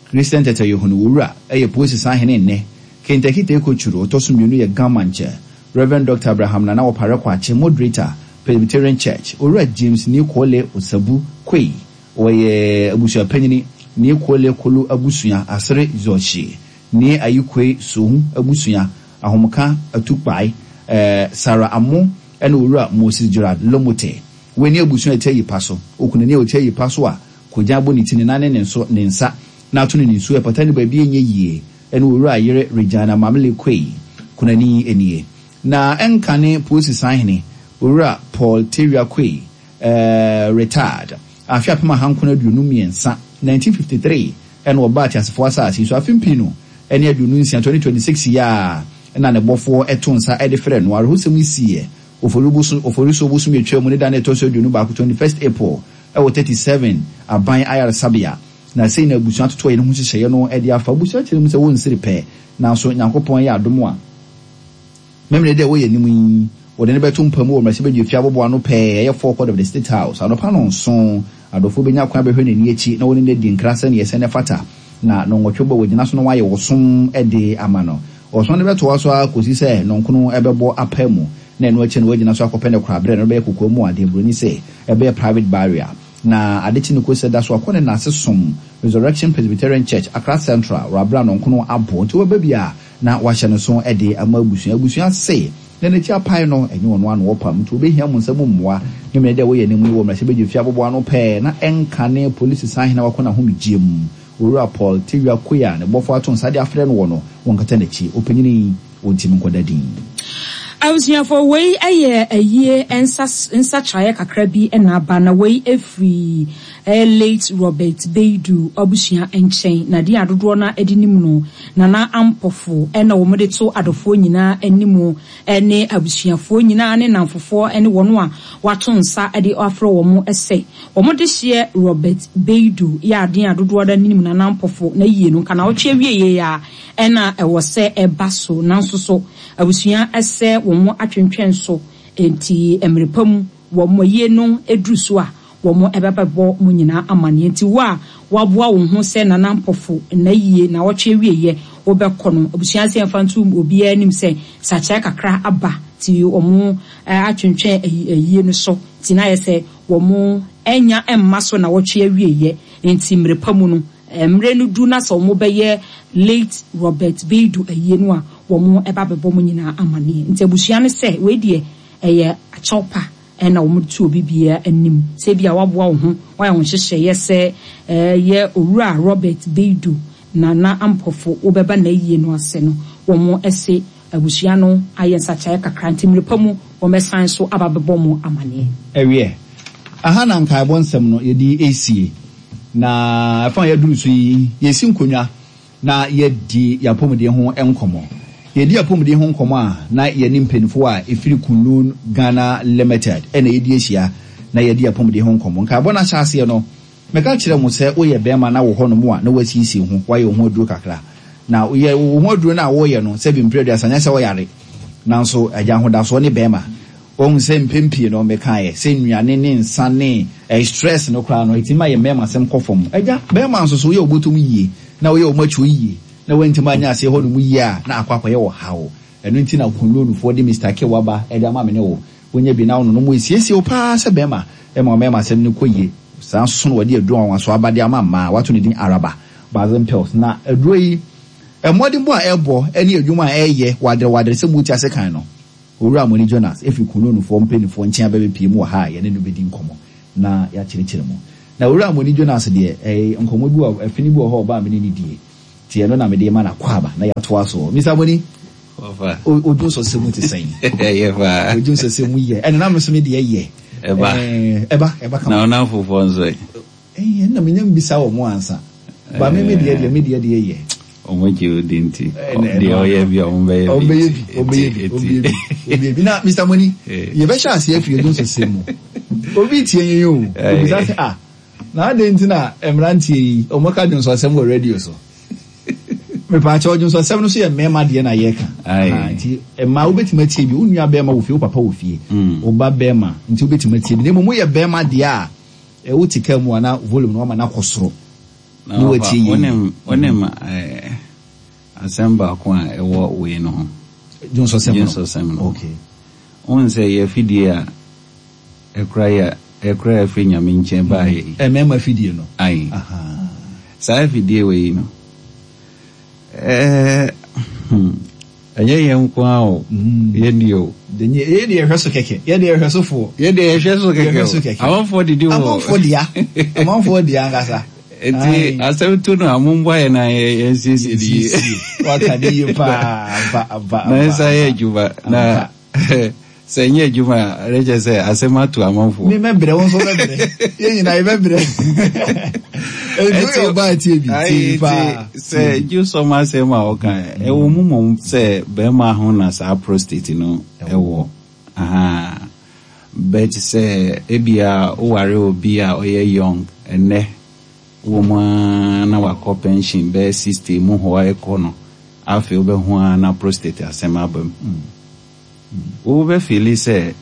Christian Tetteh Yohuno Owura yɛ Polisi Sahene nnɛ, Kentakite Ekochuru ɔtɔ so mmienu yɛ Gamankyɛ, Rev. Doctor Abraham Nana Opare Kwakye, Moderator, Presbyterian Church, Owura James Nikole Osabu Quaye, ɔyɛ abusuapanyini, Nikole Kolo abusua, Asere Zɔhye, Ne Ayikoi Sohu abusua, Ahomka Atukpae, eh, Sarah Amo, ɛna Owura Moses Gerard Lomote. Wei ne abusua a ɛte ayi pa so. Okunani a ɔte ayi pa so a kogyan bɔ ne ti, ne nan ne ne nso ne nsa na ato no ne nsuo ɛpata ne baabi ɛnyɛ yie ɛne Owura yere Regina Mamle Quaye. Kunani nie. Na ɛnkane Polisi Sahene Owura Paul Tawia Quaye, eh, retired, afe apem ahankron aduonu mmiɛnsa, nineteen fifty-three, ɛna ɔbaa ateasefoɔ asase so. Afe mpii ɛne aduonu nsia, twenty twenty-six yi a ɛna ne bɔfoɔ ɛto nsa ɛde frɛ no. Awerɛhosɛm yi siiɛ Oforisuo bosom atwa mu ne da no ɛtɔ so aduonu baako, twenty-first April, ɛwɔ thirty-seven Aban Ayaresabea. Na sei na abusua toto yɛn ho nhyehyɛeɛ no ɛde afa. Abusua kyerɛ mu sɛ wɔnsiri pɛ, nanso Nyankopɔn yɛ adom a mɛmmerɛ dɛ wɔyɛ anim yi, wɔde ne bɛto mpa mu wɔ mmarahyɛbadwa fie aboboa no pɛɛ, ɛyɛ forecourt of the State House, anɔpa no nson. Adɔfoɔ bɛnya kwan bɛhwɛ n'ani akyi na wɔne no adi nkra sɛneɛ ɛsɛ ne fata, na nɔnwɔtwe bɔ wɔgyina so na wɔayɛ wɔsom de ama no. Ɔsom no bɛtoa so a kɔsi sɛ nɔnkono ɛbɛbɔ apa mu, na ɛno akyi no wɔagyina so akɔpɛ ne koraberɛ no bɛyɛ kokoa mu adeɛ buroni sɛ ɛbɛyɛ private burial. Na ade kye ne kɔsi da so akɔ ne nase som Resurrection Presbyterian Church, Accra Central, wɔ nɔnkono abɔ. Nti wɔbɛ bi a na wahyɛ no so de ama abusua. Abusua se na n'akyi apae no ɛnyɛ ɔno ano wɔpam, nti wɔbɛhia mo nsɛm mmoa ne mmerɛ dɛ wɔyɛ anim yi wɔ mmarahyɛbadwa fie aboboa no pɛɛ na ɛnka ne Polisi Sahene a wakɔ n'ahomegyeɛ mu, Owura Paul Tawia Quaye, a ne bɔfo ato nsa de afrɛ no wɔ no, wɔnkata n'akyi, ɔpanyini wɔntimi nkɔda din. Abusuafo, wei yɛ ayie nsa nsakyerɛeɛ kakra bi na aba, na wei efiri late Robert Beidu abusua nkyɛn. Na deɛ adodoɔ no de nim no Nana Ampɔfo, ɛna wɔn de to adɔfoɔ nyinaa anim ne abusuafoɔ nyinaa ne namfofoɔ ne wɔn a wato nsa de afrɛ wɔn sɛ wɔn de hyɛ Robert Beidu yɛ adeɛ a dodoɔ no anim Nana Ampɔfo na yie no nka na ɔtwe awie yie a ɛna ɛwɔ sɛ ɛba so. Nanso so abusua ɛsɛ wɔn atwentwɛn so, nti mmerɛ pa mu wɔn yie no duru so a, wɔn ɛbɛbɛbɔ mu nyinaa amaneɛ. Nti wo a waboa wo ho sɛ Nana Mpɔfo na yie na wɔtwe awieɛ wobɛkɔ no, abusua sɛ yɛmfa nto obiara anim sɛ sakyerɛ kakra aba, nti wɔn atwentwɛn ayie no so, nti na ayɛ sɛ wɔn anya mma so na wɔtwe awieɛ. Nti mmerɛ pa mu no, mmerɛ no du na sɛ wɔn bɛyɛ late Robert Beidu ayie no a, wɔn ɛba bɛbɔ mu nyinaa amaneɛ. Nti abusua no sɛ wei deɛ ɛyɛ akyɛw pa ɛna wɔn to obi biara anim sɛ ebi a waboa wo ho, wayɛ wɔn nhyehyɛeɛ sɛ ɛyɛ Owura Robert Beidu Nana Ampɔfo wobɛba n'ayie no ase no, wɔn ɛse abusua no ayɛ nsakyerɛ kakra, nti mmerɛ pa mu wɔn bɛsan so aba bɛbɔ mu amaneɛ. Ɛwiɛ aha na nkaebɔ nsɛm no yɛde esie, na ɛfa a yɛduru so yi, yɛsi nkonnwa na yɛdi yɛapɔmuden ho nkɔmmɔ. Yɛdi apɔmuden ho nkɔmmɔ a, na yɛne mpanimfoɔ a ɛfiri Kunlun Ghana Limited ɛna yɛdi ahyia na yɛdi apɔmuden ho nkɔmmɔ. Nkaebɔ no ahyɛ aseɛ no, mɛka kyerɛ mo sɛ woyɛ bɛrima na wɔ hɔnom a na wasiesie ho, wayɛ wo ho aduro kakra, na woyɛ wo ho aduro no a wɔyɛ no sɛ bimpere aduasa, nyɛ sɛ wɔyare, nanso agya ahodasoɔ ne bɛrima wɔn sɛ mpɛn pii no mekaeɛ sɛ nnuane ne nsa ne eh, stress no koraa no ɛtumi ma yɛ mmarima asɛm kɔ fam. Agya bɛrima nso so woyɛ wobɔtɔm yie na woyɛ wɔn akyi yie na wɔntumi anya aseɛ hɔ nom yie a, na akɔ akɔyɛ wɔ haw. Ɛno nti na Kunlonufoɔ de Mister K waba ɛde ama me ne wo. Wonya bi na wo nonom esiesie wo paa sɛ bɛrima, ɛma mmarima asɛm no kɔ yie. Saa nso na wɔde aduro anwanwaso aba de ama mmaa. Wɔato ne din Araba Basin Pills. Na aduro yi, mmɔdenbɔ a ɛrebɔ ne adwuma a ɛreyɛ waderewadere sɛ mote ase kan no, Owura Moni Jonas firi Kunlunfoɔ mpanimfoɔ nkyɛn aba bɛpue mu wɔ ha a yɛne no bɛdi nkɔmmɔ na yɛakyerɛkyerɛ mu. Na Owura Moni Jonas deɛ, ɛɛ, nkɔmmɔ bi wɔ, ɛfene bi wɔ hɔ a ɔbaa me ne no die. Nti ɛno na mede rema no akwaaba na yɛatoa soɔ. Mister Moni, o dwonsɔsɛ mu te sɛn? Ɛyɛ paa. O dwonsɔsɛ mu yɛ. Ɛna na me nso me deɛ yɛ. Ɛba. Ɛba, ɛba kama. Na wo nnamfofoɔ nso ɛ? Ɛɛ, ɛna menya mbisa wɔn ansa. Ba me me deɛ deɛ, me deɛ deɛ yɛ. Wɔn gye wo di nti, deɛ ɔyɛ bi a wɔn bɛyɛ bi. Wɔn bɛyɛ bi, wɔn bɛyɛ bi, wɔn bɛyɛ bi, wɔn bɛyɛ bi. Na Mister Moni, yɛbɛhyɛ aseɛ afiri dwonsɔsɛ mu. Obi tie yɛn o, obisa sɛ, ah, na adɛn nti na mmeranteɛ yi, wɔn ka dwonsɔsɛm wɔ radio so? Mepaakyɛw, dwonsɔsɛm no so yɛ mmarima deɛ na yɛka. Nti mmaa wobɛtumi atie bi, wo nua bɛrima wɔ fie, wo papa wɔ fie, wo ba bɛrima, nti wobɛtumi atie bi. Na mmom woyɛ bɛrima deɛ a, wote kaa mu a na volume no wama no akɔ soro. Na wɔfa, wonim, wonim eh, asɛm baako a ɛwɔ wei no ho. Dwonsɔsɛm no. Dwonsɔsɛm no. Okay. Wohu sɛ yɛ afidie a ɛkora yɛ, ɛkora yɛ firi Nyame nkyɛn baeɛ yi. Mmarima afidie no. Aye. Saa afidie wei no, eh, hmm, ɛnyɛ yɛn nko ara o, yɛn deɛ o. Yɛn deɛ yɛhwɛ so kɛkɛ, yɛn deɛ yɛhwɛ so foɔ. Yɛn deɛ yɛhwɛ so kɛkɛ o. Amanfoɔ didi wɔ. Amanfoɔ dea, amanfoɔ dea ankasa. Nti asɛm to no a momboa yɛn na yɛnsiesie ne yie. Waka ne yie paa, ampa, ampa, Na ɛnsa yɛ adwuma na sɛ ɛnyɛ adwuma a ɛne kyerɛ sɛ asɛm ato amanfoɔ. Me mɛbrɛ, wo nso wobɛbrɛ. Yɛn nyinaa yɛbɛbrɛ. Nti woyɛ ɔbaa tie bi, tie bi paa. Sɛ dwonsɔm asɛm a ɔka, ɛwɔ mu mmom sɛ bɛrima ho na saa prostate no ɛwɔ. Aha. But sɛ ebia woware obi a ɔyɛ young ɛnɛ, wɔ mu ara na wakɔ pension bɛyɛ sixty mu hɔ ɛkɔ no, afei wobɛhu ara na prostate asɛm aba mu. Wobɛfeeli sɛ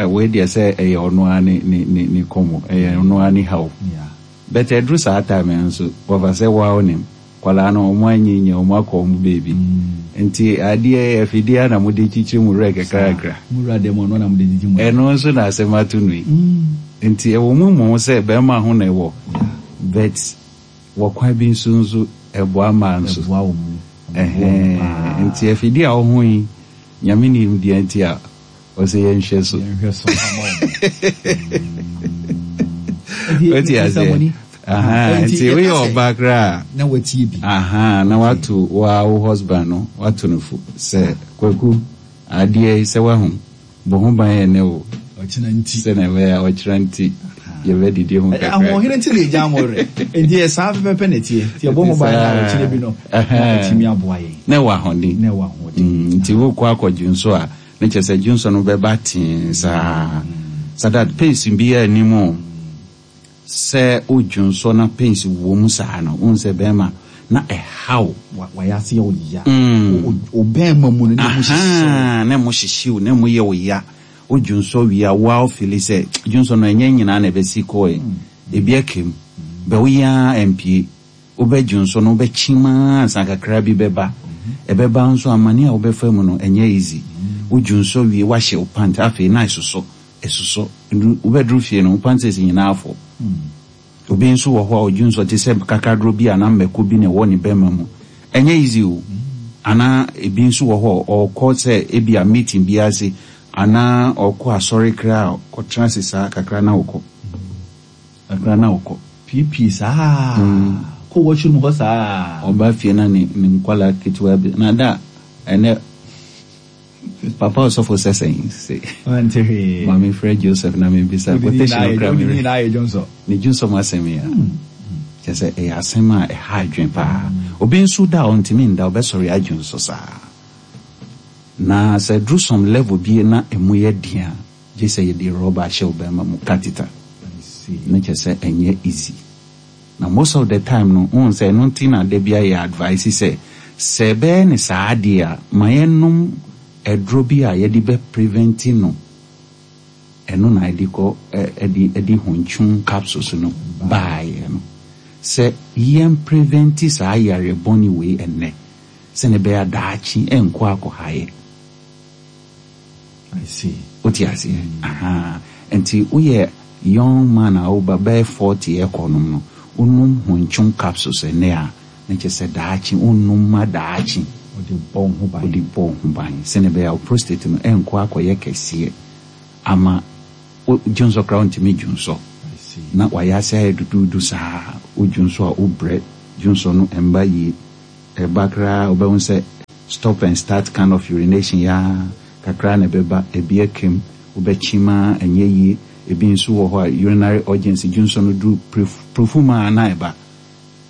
wei deɛ sɛ ɛyɛ ɔno ara ne ne ne ne kɔmmɔ, ɛyɛ ɔno ara ne haw. But ɛduru saa time no nso, wɔfa sɛ wo ara wonim, nkwadaa no wɔn anyinyɛ, wɔn akɔ wɔn baabi. Nti adeɛ afidie ara na mode kyikyiri mo werɛ kakrakra. Mo wura dɛm ɔno na mode gyigyi mo werɛ. Ɛno nso na asɛm ato no yi. Nti ɛwɔ mu mmom sɛ bɛrima ho na ɛwɔ, but wɔ kwan bi nso nso ɛboa mmaa nso. Ɛboa wɔn mu. Ɛboa wɔn paa. Nti afidie a ɔho yi, Nyame nim deɛ nti a ɔsɛ yɛnhwɛ so. Yɛnhwɛ so ama wɔn. Wote aseɛ? Nti woyɛ ɔbaa koraa na watie bi. Aha, na wato wa wo husband no, wato no fo sɛ Kwaku adeɛ yi sɛ wahu, bɔ ho ban ɛnɛ o. Ɔkyena nti. Sɛ na ɛbɛyɛ a ɔkyena nti yɛbɛdidi ho kakra. Ahoɔhene nti na ɛgya mo werɛ. Nti yɛ saa pɛpɛpɛ na ɛteɛ. Nti yɛbɔ ho ban na ɔkyena bi no na ɛtumi aboa yɛn. Na ɛwɔ ahoɔden. Na ɛwɔ ahoɔden. Nti wokɔ akɔ dwonso a, ne kyerɛ sɛ dwonso no bɛba tee saa. So that pains biara nni mu o. Sɛ wodwonso na pains wɔ mu saa no, wohu sɛ bɛrima na ɛhaw. Wayɛ ase yɛ wo ya. Wo bɛrima mu no na ɛmu hyehye wo. Na ɛmu hyehye wo, na ɛmu yɛ wo ya. Wodwonso wie a, wo ara wofeeli sɛ dwonso no ɛnyɛ nyinaa na ɛbɛsi kɔe. Ebi aka mu. Bɛ woyɛ ara ɛmpue. Wobɛdwonso no, wobɛkyim ara ansa kakra bi bɛba. Ɛbɛba nso amane a wobɛfa mu no, ɛnyɛ easy. Wodwonso wie, woahyɛ wo pant, afei na ɛsosɔ, ɛsosɔ. Wobɛduru fie no, wo panties nyinaa afɔ. Obi nso wɔ hɔ a ɔdwonso te sɛ kakaduro bi anaa mmɛko bi na ɛwɔ ne bɛrima mu. Ɛnyɛ easy o. Anaa ebi nso wɔ hɔ a ɔkɔ sɛ ebi a meeting bi ase anaa ɔkɔ asɔre koraa a ɔkɔtena ase saa kakra na ɔkɔ. Kakra na ɔkɔ. Piepie saa. Kɔ washroom hɔ saa. Ɔba fie na ne ne nkwalaa ketewa bi na da ɛnɛ papa ɔsɔfo sɛ sɛn se. Ɔnte hwee. Maame frɛ Joseph na mebisa quotation no koraa Wode nyinaa yɛ dwonsɔ. Ne dwonsɔ mu asɛm yi a. Kyerɛ sɛ ɛyɛ asɛm a ɛha adwene paa. Obi nso da a ɔntumi nda, ɔbɛsɔre adwonsɔ saa. Na sɛ duru some level bi na emu yɛ den a, gye sɛ yɛde rɔba ahyɛ wo bɛrima mu catheter. Na kyerɛ sɛ ɛnyɛ easy. Na most of the time no, wohu sɛ ɛno nti na da bi ayɛ advice sɛ sɛ ɛbɛyɛ ne saa adeɛ a, ma yɛnom aduro bi a yɛde bɛ prevent no. Ɛno na yɛde kɔ ɛde ɛde hontwon capsules no baeɛ no. Sɛ yɛn prevent saa yare bɔne wei ɛnnɛ, sɛnea ɛbɛyɛ a daakye ɛnkɔ akɔha yɛ. I see. Wote aseɛ? Aha. Nti woyɛ Young man a woba bɛyɛ forty ɛkɔ nom no, wonom Hontwon capsules ɛnnɛ a, na kyerɛ sɛ daakye wonnom ma daakye. Wode bɔ wo ho ban. Wode bɔ wo ho ban sɛnea ɛbɛyɛ a wo prostate no ɛnkɔ akɔyɛ kɛseɛ ama wo dwonsɔ koraa wontumi dwonsɔ na wayɛ ase ayɛ duduudu saa. Wodwonsɔ a wobrɛ, dwonsɔ no ɛmba yie. Ɛba koraa wobɛhu sɛ stop and start kind of urination yi ara kakra na ɛbɛba, ebi akem, wobɛkyem ara ɛnyɛ yie. Ebi nso wɔ hɔ a urinary urgency, dwonsɔ no duru prefum a na ɛba.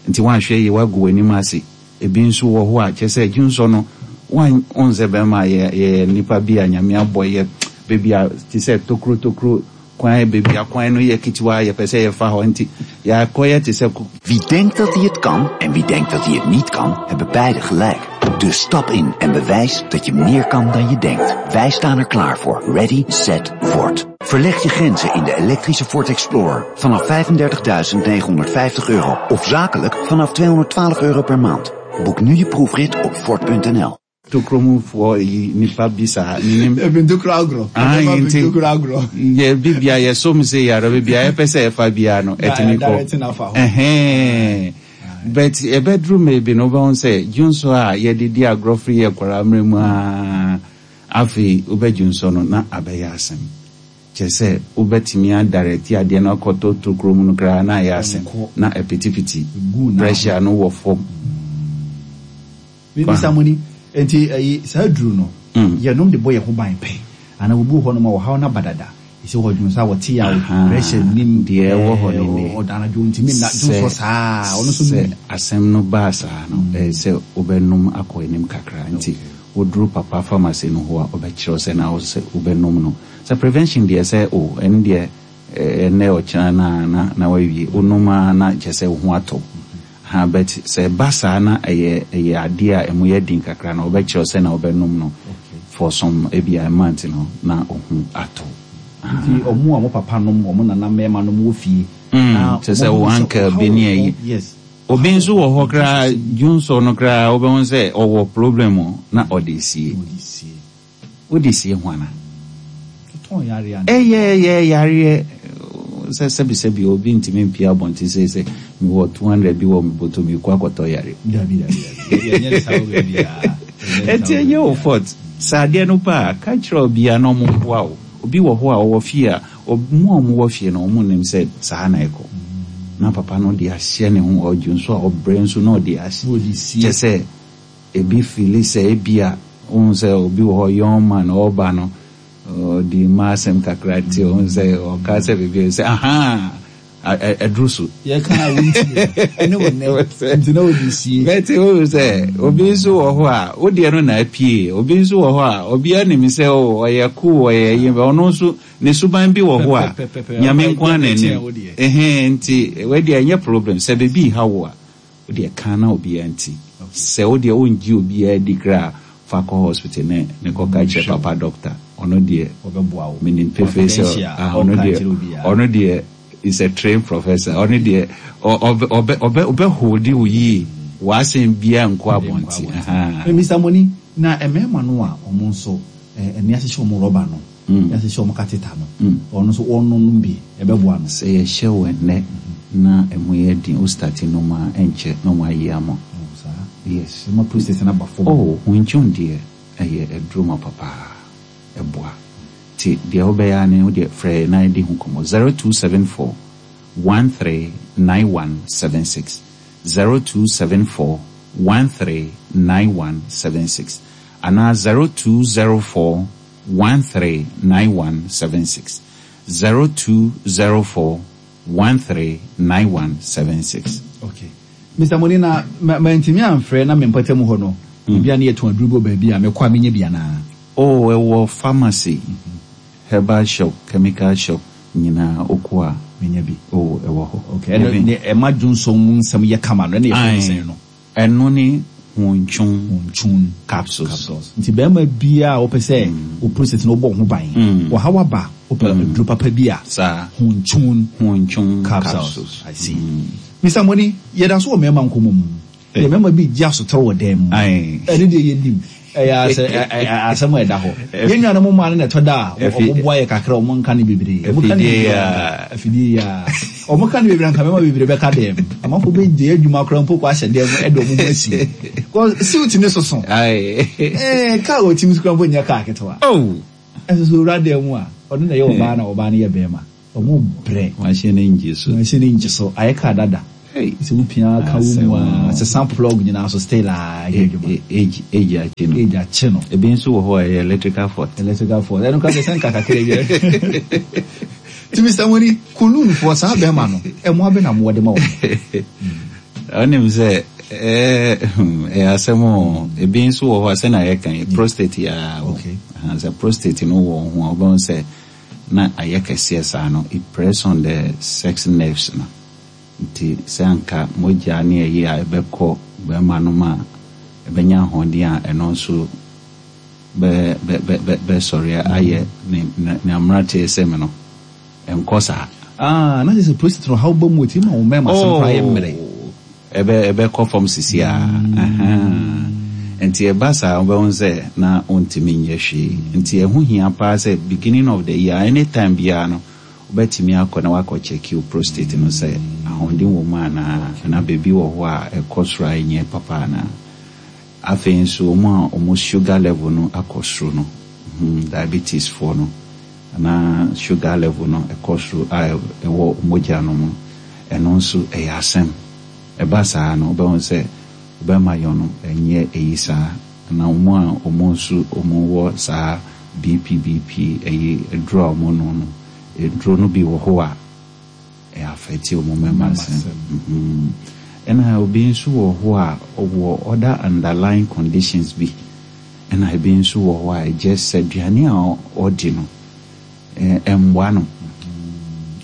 Nti woanhwɛ yie woagu w'anim ase. Ebi nso wɔ hɔ a kyerɛ sɛ dwonsɔ no woan wohu sɛ bɛrima yɛ yɛyɛ nnipa bi a Nyame abɔ yɛ baabi a te sɛ tokuro tokuro kwan baabi a kwan no yɛ ketewa yɛpɛ sɛ yɛfa hɔ nti yɛakɔyɛ te sɛ Wie denkt dat hij het kan en wie denkt dat hij het niet kan, hebben beide gelijk. Dus stap in en bewijs dat je meer kan dan je denkt. Wij staan er klaar voor. Ready, set, Ford. Verleg je grenzen in de elektrische Ford Explorer vanaf vijfendertigduizend negenhonderdvijftig euro of zakelijk vanaf tweehonderdtwaalf euro per maand. Boek nu je proefrit op Ford punt N L. Tokuro mufoɔ yi nipa bi saa menim. Ebi ntokuro agorɔ. Ah, Ɛbɛma nti ntokuro agorɔ. Yɛ bibia yɛsom sɛ yɛara bibia yɛpɛ sɛ yɛfa biara no Na ɛtumi kɔ. Direct na fa hɔ. Ɛhɛn. But ɛbɛduru maybe no wobɛhu sɛ dwonsɔ a yɛde di agorɔ firi yɛ nkwaraa mmerɛ mu a afei wobɛdwonsɔ no na abɛyɛ asɛm. Kyerɛ sɛ wobɛtumi adirect adeɛ no akɔtɔ tokuro mu no koraa na ayɛ asɛm Ɛnkɔ. Na ɛpitipiti. Gu na Pressure no wɔ fam. Mr. Moni, nti ɛyi saa duru no, Mm. yɛnom de bɔ yɛn ho ban pɛ. Ana obi wɔ hɔ nom a ɔhaw no aba dada. Ɛsɛ wɔ dwonsɔ a wɔte a Aha. pressure nim. Deɛ ɛwɔ hɔ ne ne. Ɔda anadwo ntumi nna Sɛ dwonsɔ saa. Ɔno nso sɛ nom bi. Asɛm no baa saa no, ɛyɛ sɛ wobɛnom akɔ anim kakra nti woduru papa pharmacy no hɔ a ɔbɛkyerɛ wo sɛ na wo sɛ wobɛnom no. Sɛ prevention deɛ sɛ o ɛno deɛ ɛnɛ ɔkyena na na na wawie wonom a na kyerɛ sɛ wo ho atɔ. Ha, but sɛ ɛba saa na ɛyɛ ɛyɛ adeɛ a ɛmu yɛ den kakra na ɔbɛkyerɛ wo sɛ na wobɛnom no for some ebi a month no na wo ho atɔ. Nti ɔmo a mo papa nom, ɔmo nana mmarima nom wɔ fie. Mm, Na kyerɛ sɛ ɔmo wo hu sɛ uncle ɔhaw bi ne wɔ ayi. hɔ. Yes. Obi nso wɔ hɔ koraa dwonsɔ no koraa wobɛhu sɛ ɔwɔ problem o na ɔde sie. Ɔde sie. Wode sie ho ana? Totɔn yare ana? Ɛyɛ ɛyɛ yareɛ sɛ sɛbisɛbi obi ntumi mpia abɔnten sɛ sɛ mewɔ two hundred bi wɔ me bɔtɔ mi kɔ akɔtɔ yare. Dabi, dabi, dabi. Yɛnyɛ ne saa wɔ baabiara. Ɛnti ɛnyɛ wo fault. Sɛ adeɛ no ba a, ka kyerɛ obiara na ɔmo mboa wo. Obi wɔ hɔ a ɔwɔ fie a ɔmo a ɔmo wɔ fie no ɔmo nim sɛ saa na ɛkɔ. Na papa no de ahyɛ ne ho ɔdwo nso a ɔbrɛ nso na ɔde ahyɛ. Ɔde sie. Kyɛ sɛ ebi feel sɛ ebi a ohun sɛ obi wɔ hɔ, young man ɔba no ɔde mma asɛm kakra te ohun sɛ ɔka sɛ beebi sɛ ahan ɛduru so. Yɛka a wontie ɛne wo nnɛ nti na ɔde sie. Bɛte o sɛ obi nso wɔ hɔ a wodeɛ no na apie, obi nso wɔ hɔ a obi anim sɛ o ɔyɛ cool ɔyɛ yi, ɔno nso ne suban bi wɔ hɔ a Pɛpɛpɛpɛ. Nyame nko ara n'anim. Wo deɛ. Ɛhɛn, nti wɔdeɛ ɛnyɛ problem sɛ beebi ha wo a wodeɛ kan na obiara nti sɛ wodeɛ wongye obiara di koraa fa kɔ hospital ne ne kɔka kyerɛ papa doctor, ɔno deɛ ɔbɛboa wo. Menim pefee sɛ Confidential, ah, ɔno ɔnka deɛ nkyerɛ obiara. Ɔno deɛ is a trained professor, ɔno deɛ ɔ- ɔbɛ ɔbɛ ɔbɛ ɔbɛhold wo yie, w'asɛm biara nkɔ abɔnten. Aha. Eh, Mister Moni, na mmarima no a ɔmo nso eh, ɛne ahyehyɛ ɔmo rɔba no, Mm. ɛne ahyehyɛ ɔmo catheter no, Mm. ɔno nso ɔnonom bi ɛbɛboa no? Sɛ yɛhyɛ wo ɛnnɛ na ɛmu yɛ den wo start nom a ɛnkyɛ na ɔmo ayi ama wo. Oh, saa? Yes. Ɛma prostate no aba fam. Oh, huntwon deɛ ɛyɛ aduro ma papaa ɛboa nti deɛ wobɛyɛ a ne wodeɛ frɛ na yɛdi ho nkɔmmɔ zero two seven four one three nine one seven six, zero two seven four one three nine one seven six anaa zero two zero four one three nine one seven six, zero two zero four one three nine one seven six. Okay, Mister Moni, na ma mantumi amfrɛ na mempɔta mu hɔ no, ebia ne yɛtɔn aduro bi wɔ baabi a mekɔ a menyɛ bi anaa? Oh, ɛwɔ pharmacy, herbal shop, chemical shop nyinaa wokɔ a menya bi. Oh, ɛwɔ hɔ. Okay, ɛno ne ɛma dwonsɔn mu nsɛm yɛ kama no ɛne yɛfrɛ no sɛn no? Ɛno ne Hontwon Hontwon capsules. Capsules. Nti bɛrima biara a wopɛ sɛ wo prostate no wobɔ wo ho ban, wɔha waba, wopɛ aduro papa bi a, saa Hontwon Hontwon capsules. Capsules. I see. Mister Moni, yɛda so wɔ mmarima nkɔmmɔ mu. Yɛ mmarima bi gye asotɔrɔ wɔ dan mu. Aye. Ɛne deɛ yɛnim. Ɛyɛ asɛ asɛm a ɛda hɔ. Yɛn nuanom mmaa no na ɛtɔ da a wɔn boa yɛ kakra, wɔn nka ne bebree. Wɔn ka ne bebree anka afidie yi a. Wɔn ka ne bebree anka mmarima bebree bɛka dɛm. Amanfoɔ bɛgye adwuma koraa mpo kɔ ahyɛ dɛm ɛde wɔn ho asi. Cause suit ne soso. Ɛɛ kaa wɔ tim so koraa mpo nyɛ kaa ketewa. Ɛnso so owura dɛm mu a, ɔno na ɛyɛ ɔbaa na ɔbaa no yɛ bɛrima. Ɔmo brɛ. Machine no ngye so. Machine no ngye so. Ayɛ car dada. Sɛ wo pia ka wo mu a, sesa plug nyinaa so still a ɛyɛ adwuma. Age age akye no. Age akye no. Ebi nso wɔ hɔ a ɛyɛ electrical fault. Electrical fault. Ɛno koraa deɛ sɛ nka kakra bi. Nti Mister Moni, Kulun foɔ saa bɛrima no, ɛmoa bɛ na mowɔ de ma wɔn? Wonim sɛ ɛɛ ɛyɛ asɛm o. Ebi nso wɔ hɔ a sɛnea yɛka yi, prostate yi ara o. Okay. Sɛ prostate no wɔ ho a, wobɛhu sɛ na ayɛ kɛseɛ saa no, it press on the sex nerves no. Nti sɛ anka mogya ne ɛyi a ɛbɛkɔ bɛrima no mu a ɛbɛnya ahoɔden a ɛno nso bɛ bɛ bɛ bɛ bɛsɔre ayɛ ne ne ne mmeranteɛ sɛm no, ɛnkɔ saa. Ah, na kyerɛ sɛ prostate no haw ba mu ɛtumi ma wo mmarima asɛm koraa yɛ mmerɛ. Ɛbɛ ɛbɛkɔ fam sisi a. Nti ɛba saa wobɛhu sɛ na wontumi nyɛ hwee. Nti ɛho hia paa sɛ beginning of the year, anytime biara no, wobɛtumi akɔ na wakɔ check wo prostate no sɛ ahoɔden wɔ mu anaa, anaa baabi wɔ hɔ a ɛkɔ soro a ɛnyɛ papa anaa. Afei nso wɔn a wɔn sugar level no akɔ soro no, diabetes foɔ no, anaa sugar level no ɛkɔ soro a ɛwɔ mogya no mu, ɛno nso ɛyɛ asɛm. Ɛba saa no, wobɛhu sɛ wobɛma yɔn no ɛnyɛ ɛyi saa. Na wɔn a wɔn nso wɔn wɔ saa B P B P ɛyi aduro a wɔn nom no, aduro no bi wɔ hɔ a ɛyɛ affect wɔn mmarima asɛm. Ɛna obi nso wɔ hɔ a ɔwɔ other underlying conditions bi. Ɛna ebi nso wɔ hɔ a ɛgye sɛ aduane a ɔdi no ɛmmoa no.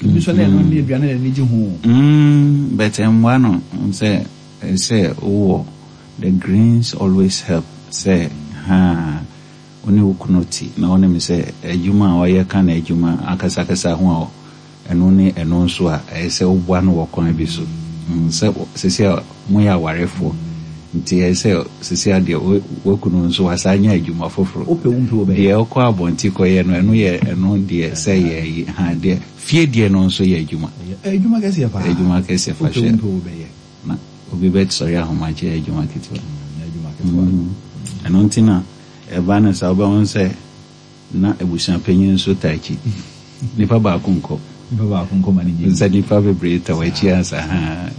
Ebi nso na ɛno ne aduane na n'ani gye ho. Mm, but ɛmmoa no sɛ sɛ wowɔ the greens always help sɛ ha wo ne wo kunu te na wonim sɛ adwuma a ɔyɛ ka na adwuma akasakasa ho a ɛno ne ɛno nso a ɛyɛ sɛ woboa no wɔ kwan bi so. Sɛ sisi a moyɛ awarefoɔ nti ɛyɛ sɛ sisi a deɛ wakunu nso wasa anya adwuma foforɔ. Wopɛ wo mpɛ wo bɛyɛ. Deɛ ɔkɔ abɔnten kɔyɛ no, ɛno yɛ ɛno deɛ sɛ yɛ yi ha deɛ fie deɛ no nso yɛ adwuma. Adwuma kɛseɛ paa. Adwuma kɛseɛ fa Wopɛ wo hyɛ. mpɛ wo bɛyɛ. Na obi bɛsɔre ahomakye yɛ adwuma ketewa. Adwuma ketewa. Ɛno nti na ɛba no saa wobɛhu sɛ na abusuapanyin nso ta akyi. Nipa baako nkɔ. Nipa baako nkɔ ma ne nye. Sɛ nipa bebree ta w'akyi ansa ha.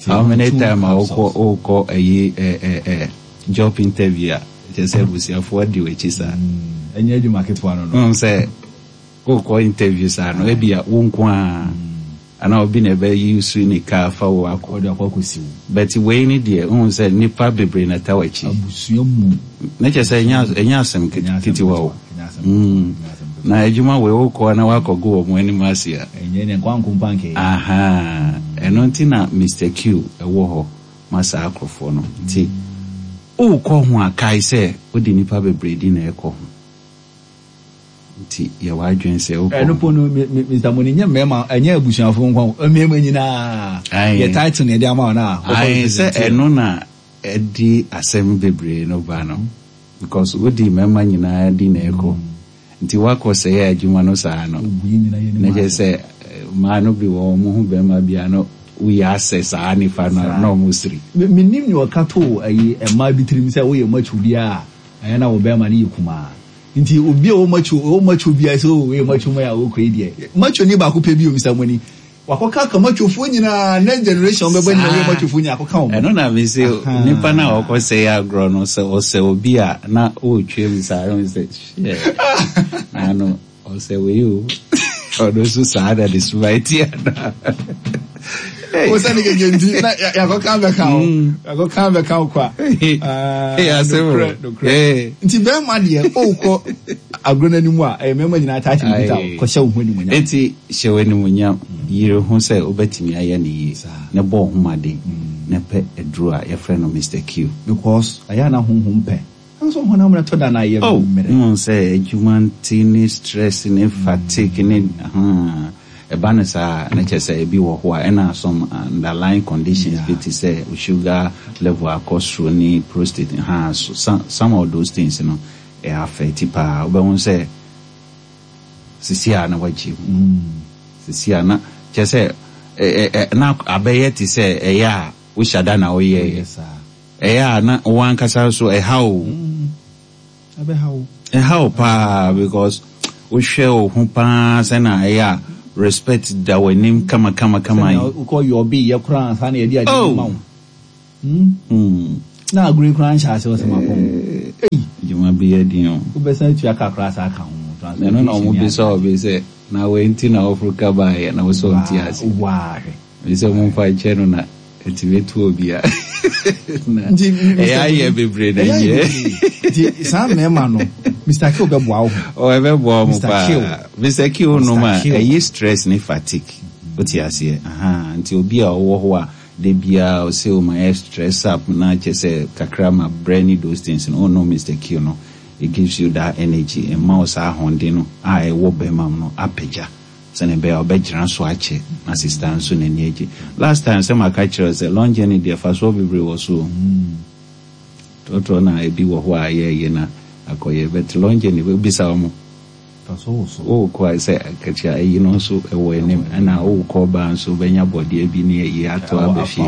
How many time a wokɔ wokɔ ɛyi ɛ ɛ ɛ job interview a kyerɛ sɛ abusuafoɔ di w'akyi saa. Ɛnyɛ adwuma ketewa no no. Wohu sɛ wokɔ interview saa no, ebi a wo nko a anaa obi na ɛbɛyi su ne kaa fa wo akɔ. Ɔde akɔ akɔsi wo. But wei ni deɛ, wohu sɛ nipa bebree na ta w'akyi. Abusua mu. Na kyerɛ sɛ ɛnyɛ ɛnyɛ asɛm ketewa o. Mm. Na adwuma wei wokɔ na wakɔgo wɔn anim ase a. Ɛnyɛ ne nkwa nko mpa nkɛyɛ. Aha. Ɛno nti na Mister Q ɛwɔ hɔ ma saa akorɔfoɔ no. Nti wokɔ ho a kae sɛ wode nipa bebree di na ɛkɔ ho. Nti yɛwɔ adwene sɛ wokɔ. Ɛno po no, Mister Moni, nyɛ mmarima, ɛnyɛ abusuafoɔ nko, mmarima nyinaa. Yɛ title na yɛde ama wɔn a. Ayi sɛ ɛno na ɛdi asɛm bebree no ba no. Because wodi mmarima nyinaa di na ɛkɔ. Nti wakɔ sɛ yɛ adwuma no saa no. Na kyerɛ sɛ mmaa no bi wɔ wɔn ho bɛrima bi a no woyɛ asɛ saa nifa no na ɔmo siri. Menim nea ɔka to ayi mmaa bi tirim sɛ woyɛ macho bi a ɛyɛ na wo bɛrima no yɛ kumaa. Nti obi a ɔwɔ macho, ɔwɔ macho bi a sɛ o woyɛ macho ma yɛ a wɔkɔ yi deɛ. Macho ni baako pɛ bi o, Mister Moni. Wakɔka ka machofoɔ nyinaa, next generation bɛbɛ nyinaa woyɛ machofoɔ nyinaa akɔka wɔn. Ɛno na mi se nipa na ɔkɔ sɛ yɛ agorɔ no sɛ ɔsɛ obi a na ɔretwa mu saa ɛho sɛ hyɛ n'ano ɔsɛ wei o ɔno nso saa na de suma eti ana. Wo sɛ ne keke nti na yakɔka bɛka wo yakɔka bɛka wo kwa. Nokorɛ nokorɛ. Nti bɛrima deɛ ɔrekɔ agorɔ n'anim a ɛyɛ mmarima nyinaa taa kyerɛ kita kɔhyɛ wo ho animuonyam. Eti hyɛ wo animuonyam, yere ho sɛ wobɛtumi ayɛ ne yie na bɔ wo ho mmɔden na pɛ aduro a yɛfrɛ no Mister Q. Because ɛyɛ ana honhom pɛ nso honam no tɔ da na ayɛ Oh, mmerɛ. Wohu sɛ adwuma nti ne stress ne fatigue ne hmm, Ɛba no saa a, na kyerɛ sɛ ebi wɔ hɔ a ɛna some underlying conditions bi te sɛ wo sugar level akɔ soro ne prostate ha so some of those things no ɛ affect paa. Wobɛhu sɛ sisi a na wagye mu, sisi a na kyerɛ sɛ na abɛyɛ te sɛ ɛyɛ a wohyɛ da na woyɛɛ ɛyɛ a na wo ankasa so ɛha wo, ɛha wo paa, because wohwɛ wo ho paa sɛ na ɛyɛ a respect da w'anim kama kama kama yi. Wokɔ yɛ ɔbi yɛ koraa ansa na yɛde ade ma wo na agorɔ yi koraa nhyɛ ase wɔ sɛ mapɔn. Adwuma bi yɛ den o. Wobɛsan atua ka koraa saa ka ho. Ɛno na ɔmo bisa ɔbi sɛ na wei nti na wɔforo ka baayɛ na wosɛ ɔnte ase. Waa hwɛ. Sɛ momfa nkyɛ no na ɛtumi to obi a ɛyɛ ayɛ bebree na nyɛ. Nti saa mmarima no, Mister Kill bɛboa wo ho. Ɔ ɛbɛboa mo paa. Mister Kill nom a, ɛyi stress ne fatigue, wote aseɛ? Aha, nti obi a ɔwɔ hɔ a de biara ɔsɛ o ma yɛ stress up na kyɛ sɛ kakra ma brɛ ne those things no, ɔno Mister Kill no, it gives you that energy, ɛma wo saa ahoɔden no a ɛwɔ bɛrima mu no apagya sɛne ɛbɛyɛ a ɔbɛgyina so akyɛ na sister nso n'ani agye. Last time sɛ maka kyerɛ sɛ long journey deɛ, fa soɔ bebree wɔ so trɔtrɔ na ebi wɔ hɔ a yɛyɛ na akɔyɛ, but long journey bisa wɔn wokɔ a sɛ akatua ayi no nso ɛwɔ anim, ɛna wokɔ baa nso wobɛnya bɔdeɛ bi ne ayi ato aba fie.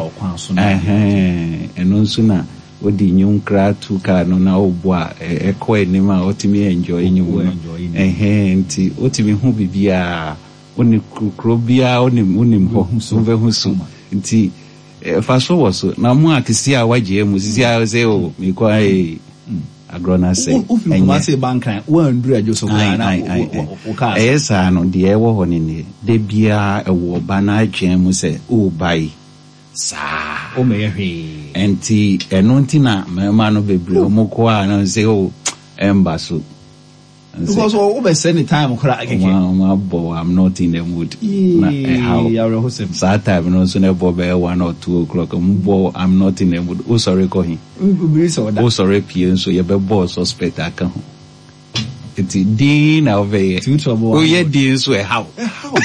Ɛno nso na wode nnwom koraa to kaa no na wobɔ a ɛkɔ anim a wotumi enjoy nnwom no. Nti wotumi hu biribiaa, wone kuro biara wonim wonim hɔ, wobɛhu so. Nti fa so wɔ so na mo a kesi a wagye mu sisi a sɛ o mekɔ ee agorɔ no asɛ. Wofiri Kumase ba Nkran, woanduru Adwo so koraa na wo kaa. Ɛyɛ saa no deɛ, ɛwɔ hɔ no nie, da biara ɛwɔ ɔba no adwene mu sɛ woba yi saa. Womɛyɛ hwee. Nti ɛno nti na mmarima no bebree ɔmo kɔ a na sɛ o ɛmba so. Because wobɛsɛ ne time koraa kɛkɛ. Ɔmo abɔ "I'm not in the mood" na ɛhaw. Awerɛhosɛm. Saa time no nso na ɛbɔ bɛyɛ one or two o'clock, ɔmo bɔ "I'm not in the mood", wosɔre kɔ he? Obiri sɛ ɔda. Wosɔre pie nso yɛbɛbɔ suspect aka ho, nti din na wobɛyɛ. Two trouble. Woyɛ din nso ɛhaw. Ɛhaw,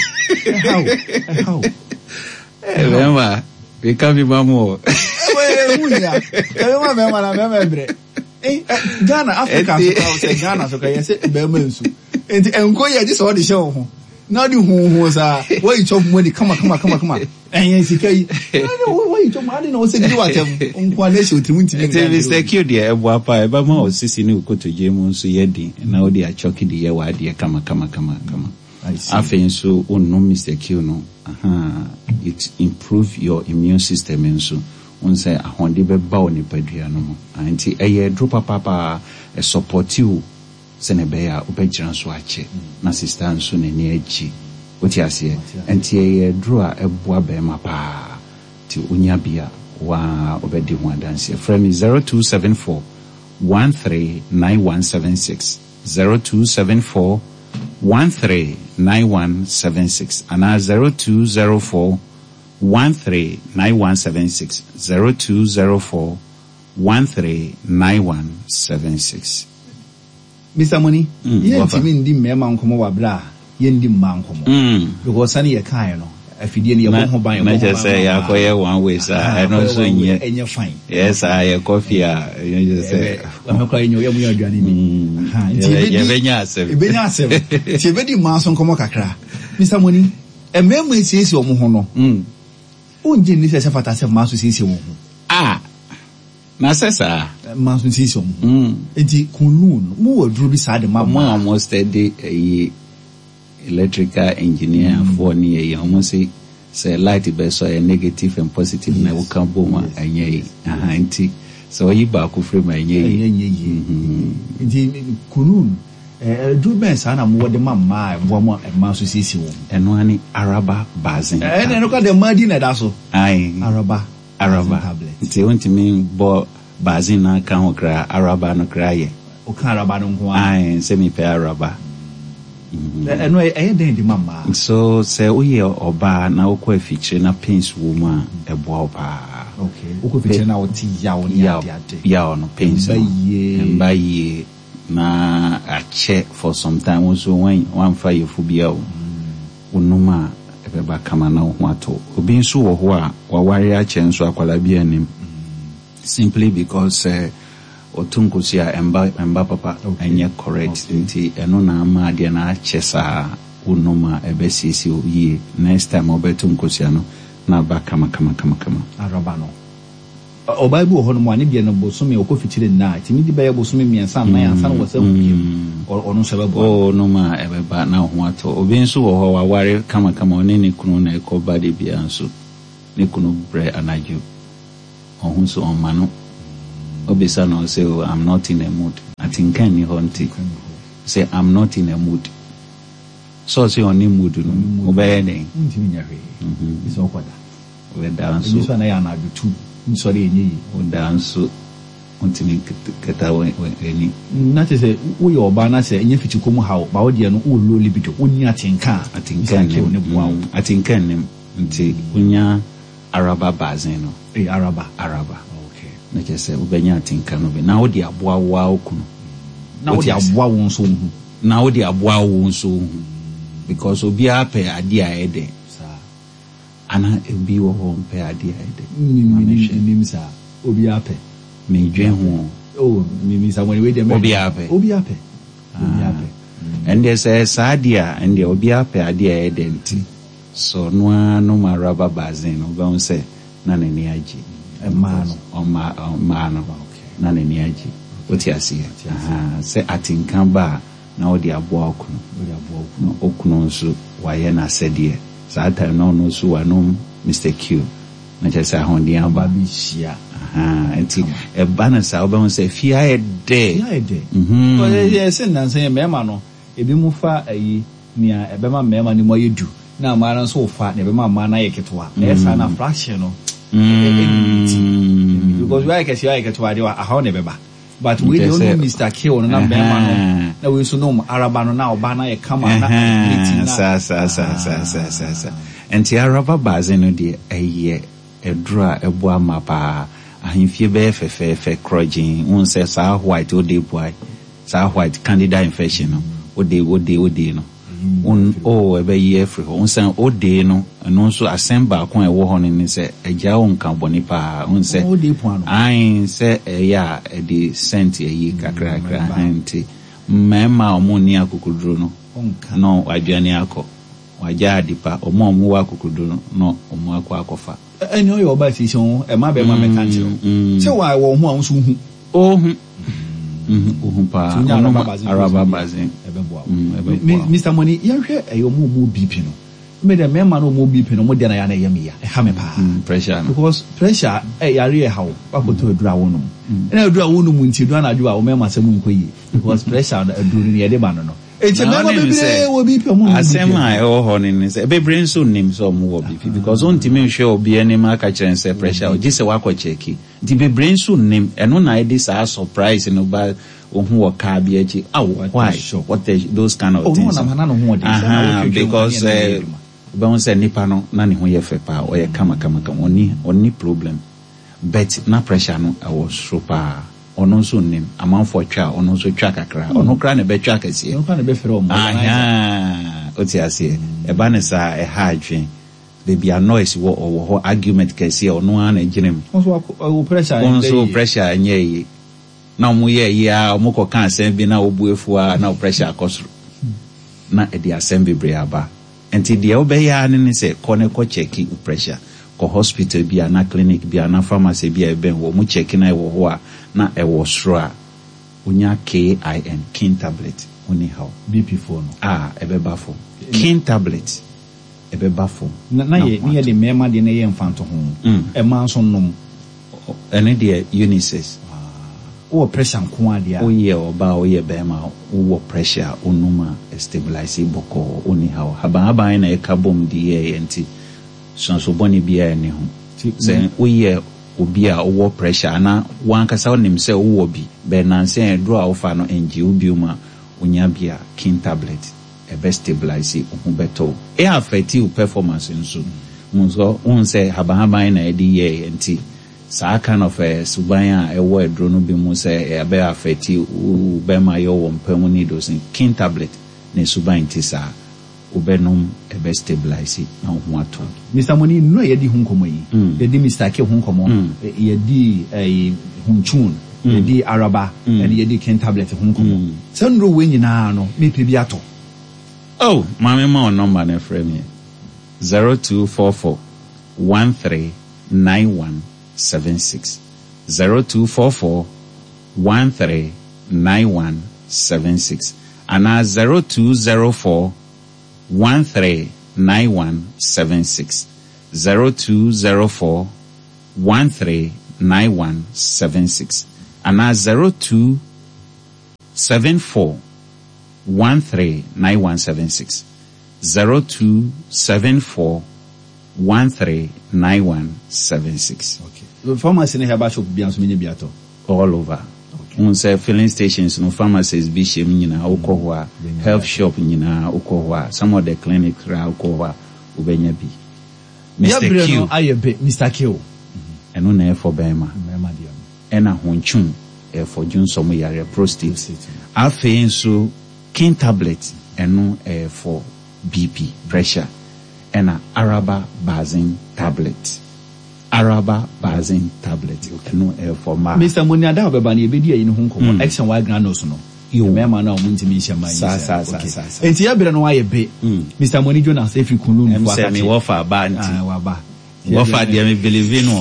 ɛhaw, ɛhaw. Bɛrima meka bi ma mo o. Ɛwɔ hia ɛbɛma bɛrima na bɛrima brɛ. Ghana, Africa so ka sɛ Ghana so ka yɛ sɛ bɛrima nsu nti nko yɛ gye sɛ ɔde hyɛ wo ho na ɔde huhu saa wɔyi chop money kama kama kama kama, ɛyɛ sika yi wɔyi chop ade na wɔsɛ didi watɛm nko a na ɛhyɛ otiri mu ntumi. Nti Mister Q deɛ, ɛboa paa, ɛbɛma wo sisi ne wo kotodwe mu nso yɛ den na wode akyɔke de yɛ w'adeɛ kama kama kama kama. Afei nso wonnom Mister Q no, aha, it improve your immune system nso, wɔn sɛ ahoɔden bɛba wo nipadua no mu. Nti ɛyɛ aduro papaapa, ɛ support wo sɛnɛ ɛbɛyɛ a wobɛgyina so akyɛ na sister nso n'ani agye, wote aseɛ? Nti ɛyɛ aduro a ɛboa bɛrima paa, nti wonya bi a waa wobɛdi ho adanseɛ. Frɛ me zero two seven four one three nine one seven six, zero two seven four one three nine one seven six, anaa zero two zero four one three nine one seven six, zero two zero four one three nine one seven six. Mister Money, Mm, yɛntumi ndi mmarima nkɔmmɔ wɔ abere a yɛndi mmaa nkɔmmɔ Mm. because sani yɛ kaeɛ no, afidie no yɛbɔ ho ban. Na yɛbɔ ho kyerɛ ban sɛ ma yɛakɔyɛ one way saa, Ah, ɛno nso akɔyɛ one way, nyɛ. Ɛnyɛ fine. Yɛ saa yɛkɔ fie a ɛnyɛ kyerɛ sɛ ɛmɛ kora yɛnyɛ yɛmu yɛ aduane bi. Mm. Aha, nti Yɛbɛ- yɛbɛdi- yɛbɛnya asɛm. Yɛbɛnya asɛm, nti yɛbɛdi mmaa so nkɔmmɔ kakra. Mister Money, mmarima esiesie wɔn ho no, Mm. wongye nni sɛ ɛsɛ fata sɛ mmaa nso siesie wɔn ho? Ah, na sɛ saa. Mmaa nso siesie wɔn ho. Mm. Nti Kunlun mo wɔ aduro bi saa de ma ɔmo a mmaa? Ɔmo study ɛyi electrical engineer foɔ ne yɛ ɔmo se sɛ light bɛsɔ yɛ negative and positive na woka bom a ɛnyɛ yi. Aha, nti sɛ ɔyi baako firi mu a ɛnyɛ yi. Ɛnyɛ nyɛ yie. Nti Kunlun ɛɛ aduro bɛn saa na mowɔ de ma mmaa a ɛboa mo a mmaa nso siesie wɔn ho? Ɛno ane Araba Bazin. Ɛna ɛno kora de mmaa di na ɛda so. Ae. Araba Araba tablet. Nti wontumi bɔ bazin no aka ho koraa, araba no koraa yɛ. Woka araba no nko ara? Ae, sɛ mepɛ araba. Ɛ- ɛno ɛyɛ ɛyɛ dɛn de ma mmaa? So sɛ woyɛ ɔbaa na wokɔ afikyire na pains wɔ mu a, ɛboa wo paa. Okay, wokɔ fikyire na wote yaw ne yaw ade ade. Yaw no, pains no. Ɛmba yie. Ɛmba yie na akyɛ for some time, wo nso wan- wamfa yɛfu bia o, wonom a Ɛbɛba kama na wo ho atɔ. Obi nso wɔ hɔ a waware akyɛ nso akwadaa bi anim. Simply because sɛ ɔto nkosua a ɛmba ɛmba papa, ɛnyɛ correct, nti ɛno na ama adeɛ no akyɛ saa. Wonom a, ɛbɛsiesie wo yie. Next time ɔbɛto nkosua no na aba kama kama kama kama. Araba no, ɔbaa bi wɔ hɔnom a ne deɛ no, bosome ɔkɔ fikyire nna a, tumi de bɛyɛ bosome mmiɛnsa nnan ansa na wɔsɛ ho biem. Ɔno nso ɛbɛboa? Wonom a, ɛbɛba na wo ho atɔ. Obi nso wɔ hɔ, waware kamakama, ɔne ne kunu na ɛkɔ ba de bia, nso ne kunu brɛ anadwo, ɔho so ɔmma no. Obisa no, ɔsɛ, "Oh, I'm not in a mood." Atenka nni hɔ, nti sɛ I'm not in a mood, sɛ ɔsɛ ɔne mood no, wobɛyɛ den? Wontumi nyɛ hwee sɛ ɔkɔda. Wobɛda. Ebi nso nso a na yɛ anadwo tu nsɔre, ɛnyɛ yie. Woda nso wontumi kata w'ani. Na kyerɛ sɛ woyɛ ɔbaa na sɛ ɛnyɛ fikyikɔ mu haw ba, wo deɛ no wowɔ low libido, wonni atenka a, atenka Mister Kill ne boa wo. Nnim, atenka nnim, nti wonya araba bazen no. Ɛyɛ araba? Araba. Okay. Na kyerɛ sɛ wobɛnya atenka no bi na wode aboa wo a wo kunu. Na wode aboa wo nso wo ho. Na wode aboa wo nso wo ho, because obiara pɛ adeɛ a ɛyɛ dɛ. Saa. Ana obi wɔ hɔ mpɛ adeɛ a ɛyɛ dɛ? Nim saa, obiara pɛ. Medwen ho. Oh, mimi sa wei deɛ. Obiara pɛ. Obiara pɛ, obiara pɛ. Ɛndeɛ sɛ saa deɛ a, ɛndeɛ obiara pɛ adeɛ a ɛyɛ dɛ, nti sɛ ɔno ara nom araba bazen no, wobɛhu sɛ na n'ani agye. Mmaa no. Ɔmaa ɔmaa no na n'ani agye. Wote aseɛ? Aha, sɛ atenka ba a, na wode aboa okunu. Wode aboa wo kunu. Na okunu nso wayɛ n'asɛdeɛ saa time na ɔno nso wanom Mister Q, na kyerɛ sɛ ahoɔden aba. Aba bɛhyia. Aha, nti ɛba no saa, wobɛhu sɛ fie ayɛ dɛ. Ayɛ dɛ. Mhm. Yɛ sɛ nnansa yɛ mmarima no, ebi mu fa ayi nea ɛbɛma mmarima no mu ayɛ du, na mmaa no nso fa nea ɛbɛma mmaa no ayɛ ketewa. Ɛyɛ saa na fraction no ɛnyɛ, because wayɛ kɛse, wayɛ ketewa deɛ, ahaw na ɛbɛba. But wei deɛ, ɔnom Mister Kill no na mmarima no, na wei nso nom araba no, na ɔbaa no ayɛ kama na ne ti na saa saa saa saa saa saa saa. Nti araba bazen no deɛ, ɛyɛ ɛduro a ɛboa ma paa. Ahemfie bɛyɛ fɛfɛɛfɛ korɔgyen. Wohu sɛ saa white wode boa saa white candida infection no, wode wode wode no Won- o ɛbɛyi afiri hɔ. Wohu sɛ wode no, ɛno nso asɛm baako a ɛwɔ hɔ no ne sɛ agya wo nka bɔne paa. Wohu sɛ wode po ano. Ae, sɛ ɛyɛ a ɛde scent ayi kakrakra. Nti mmarima a ɔmo nni akokoduro no ɔnka na wadwane akɔ wagya ade pa. Ɔmo a ɔmo wɔ akokoduro no na ɔmo akɔ akɔfa. Ɛne ɔyɛ ɔbaa siesie ho, ɛma bɛrima mɛka nkyerɛ wo sɛ wa wɔ ho a wo nso wohu. Ohu ohu paa. Nti wonya ɔnom araba bazen. Araba bazen. Ɛbɛboa wo. Mm, ɛbɛboa Mi- wo. Mister Money, yɛnhwɛ ɛyɛ ɔmo a ɔmo B P no. Me dɛ, mmarima no ɔmo B P no, ɔmo deɛ na yɛ na ɛyɛ me ya, ɛha me paa. Mm, pressure no. Because pressure ɛ yare ɛha wo, wakɔtɔ aduru a wonom, ɛna aduru a wonom nti aduru anadwo a wo mmarima sɛ mu nkɔ yie, because pressure no, aduru no yɛde ba no no eti Na mmarima wonim bebree sɛ wɔ B P, ɔmo nom asɛm B P. A ɛwɔ hɔ no ne sɛ bebree nso nnim sɛ ɔmo wɔ B P, because wontumi nhwɛ obi anim aka kyerɛ no sɛ pressure, gye sɛ wakɔ check. Nti bebree nso nnim. Ɛno na ɛde saa surprise no ba. Ohun wɔ kaa bi akyi, aw, why, shock. What the, those kind of Oh, no, things. nam ha na ne ho ɔden. Sɛ na Aha, wotwetwe because mu, ne eh, yɛ adwuma. wobɛhu sɛ nipa no na ne ho yɛ fɛ paa, ɔyɛ kama kama kama, ɔni ɔni problem, but na pressure no ɛwɔ soro paa. Ɔno nso nnim. Amanfoɔ twa a, ɔno nso twa kakra, ɔno koraa na ɛbɛtwa kɛseɛ. Ɔno koraa na ɛbɛfrɛ ɔmo organizer. Aha, wote aseɛ? Ɛba ne saa, ɛha adwen. Baabi a noise wɔ, ɔwɔ hɔ, argument kɛseɛ, ɔno ara na gyina mu. Ɔno nso wakɔ- ɔwɔ pressure. Wɔn nso ɛndɛ yie. Pressure nyɛ yie na ɔmo yɛ yie a, ɔmo kɔ ka asɛm bi na ɔbu efu a, na pressure akɔ soro na ɛde asɛm bebree aba. Nti deɛ wobɛyɛ ara ne ne sɛ kɔ ne kɔ check wo pressure. Kɔ hospital bi a na clinic bi a na pharmacy bi a ɛbɛn wɔ ɔmo check na ɛwɔ hɔ a, na ɛwɔ soro a, wonya kin kin tablet, woni haw. B P foɔ no. A ɛbɛba fam. Kin tablet ɛbɛba fam. Na na yɛ ne yɛ de mmarima deɛ na yɛ mfa nto ho. Mm. Ɛmaa nso nom? Ɛno deɛ unisex. Wowɔ pressure nko adeɛ a. Woyɛ ɔbaa, woyɛ bɛrima, wowɔ pressure a, wonum a, stabilize bɔkɔɔ, wonni haw. Habanhaban na ɛka bom de yɛɛyɛ, nti suanso bɔne biara nni ho. Sɛ woyɛ obi a wowɔ pressure anaa wankasa wonim sɛ wowɔ bi bɛɛ nansa aduro a wofa no ngye wo bio mu a, wonya bi a, kin tablet ɛbɛ stabilize, wo ho bɛtɔ wo. Ɛ affect wo performance nso mu nso. Wohu sɛ habanhaban na ɛde yɛɛyɛ, nti saa kind of uh, suban a ɛwɔ aduro no bi mu sɛ ɛbɛ affect wo bɛrima yɛ wɔ mpa mu ne those, kin tablet ne suban nti saa. Wobɛnom, ɛbɛ stabilize na wo ho atɔ. Mister Moni, nnuro a yɛadi ho nkɔmmɔ yi, Mm. yɛadi Mister K ho nkɔmmɔ, Mm. yɛadi ɛyi Hunchun, Mm. yɛadi Araba, Mm. ɛne yɛadi Ken tablet ho nkɔmmɔ. Mm. Saa nnuro wei nyinaa no, mepɛ bi atɔ. Oh, maame ma wo number no frɛ me. zero two four four one three nine one seven six. zero two four four one three nine one seven six. Anaa zero two zero four one three nine one seven six. zero two zero four one three nine one seven six. Anaa zero two seven four one three nine one seven six. zero two seven four one three nine one seven six. Okay. Pharmacy ne herbal shop bia nso menya bi atɔ. All over. Okay. Wohu sɛ filling stations no pharmacies bi hyɛ mu nyinaa wokɔ hɔ a, Wobɛnya health bi atɔ. shop nyinaa wokɔ hɔ a, some of the clinic koraa wokɔ hɔ a wobɛnya bi. Mister Yɛbrɛ Q. no ayɛ be Mister Q. Ɛno na ɛfɔ bɛrima. Mmarima deɛ no. Ɛna hontwum ɛfɔ dwonsɔm yareɛ prostate. Prostate. Afei nso king tablet ɛno ɛfɔ B P pressure. Ɛna Araba Bazin tablet. Araba Bazin tablet. Ɛno ɛfɔ mmaa. Mister Moni ada ɔbɛba no yɛbɛdi ayi no ho nkɔmmɔ. Mm. X and Y granules no. Yo. Mmarima no a ɔmo ntumi nhyɛ mmaa yi Saa, sɛ. saa, saa, Okay. saa, saa. Enti yɛbrɛ no ayɛ be. Mm. Mister Moni Jonas efiri Kunlun Ɛm fo sɛ akakye. me wɔfa aba nti. Ah, waba. Wɔfa deɛ me believe no.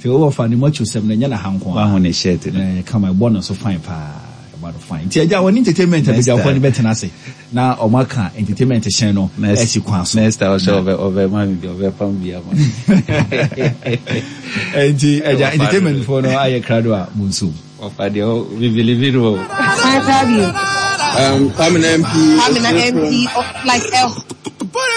Sɛ wɔfa ne macho sɛm no ɛnyɛ na ha nko a. Wahu ne shirt no. Eh, kama ɛbɔ no so fine paa. Ɛbɔ no fine. Nti agya wɔne entertainment Next abadwafoɔ time. no bɛtena ase. Na ɔmo aka entertainment hyɛn no Next asi kwan so. Next time ɔhyɛ ɔbɛ ɔbɛ ma mi bi ɔbɛ pam bi ama. Nti agya Wɔfa entertainment no. foɔ no ayɛ krado a mo nso. Wɔfa deɛ ɔ we believe no. Five W. Um, Kwamina M P. Kwamina M P, oh, like a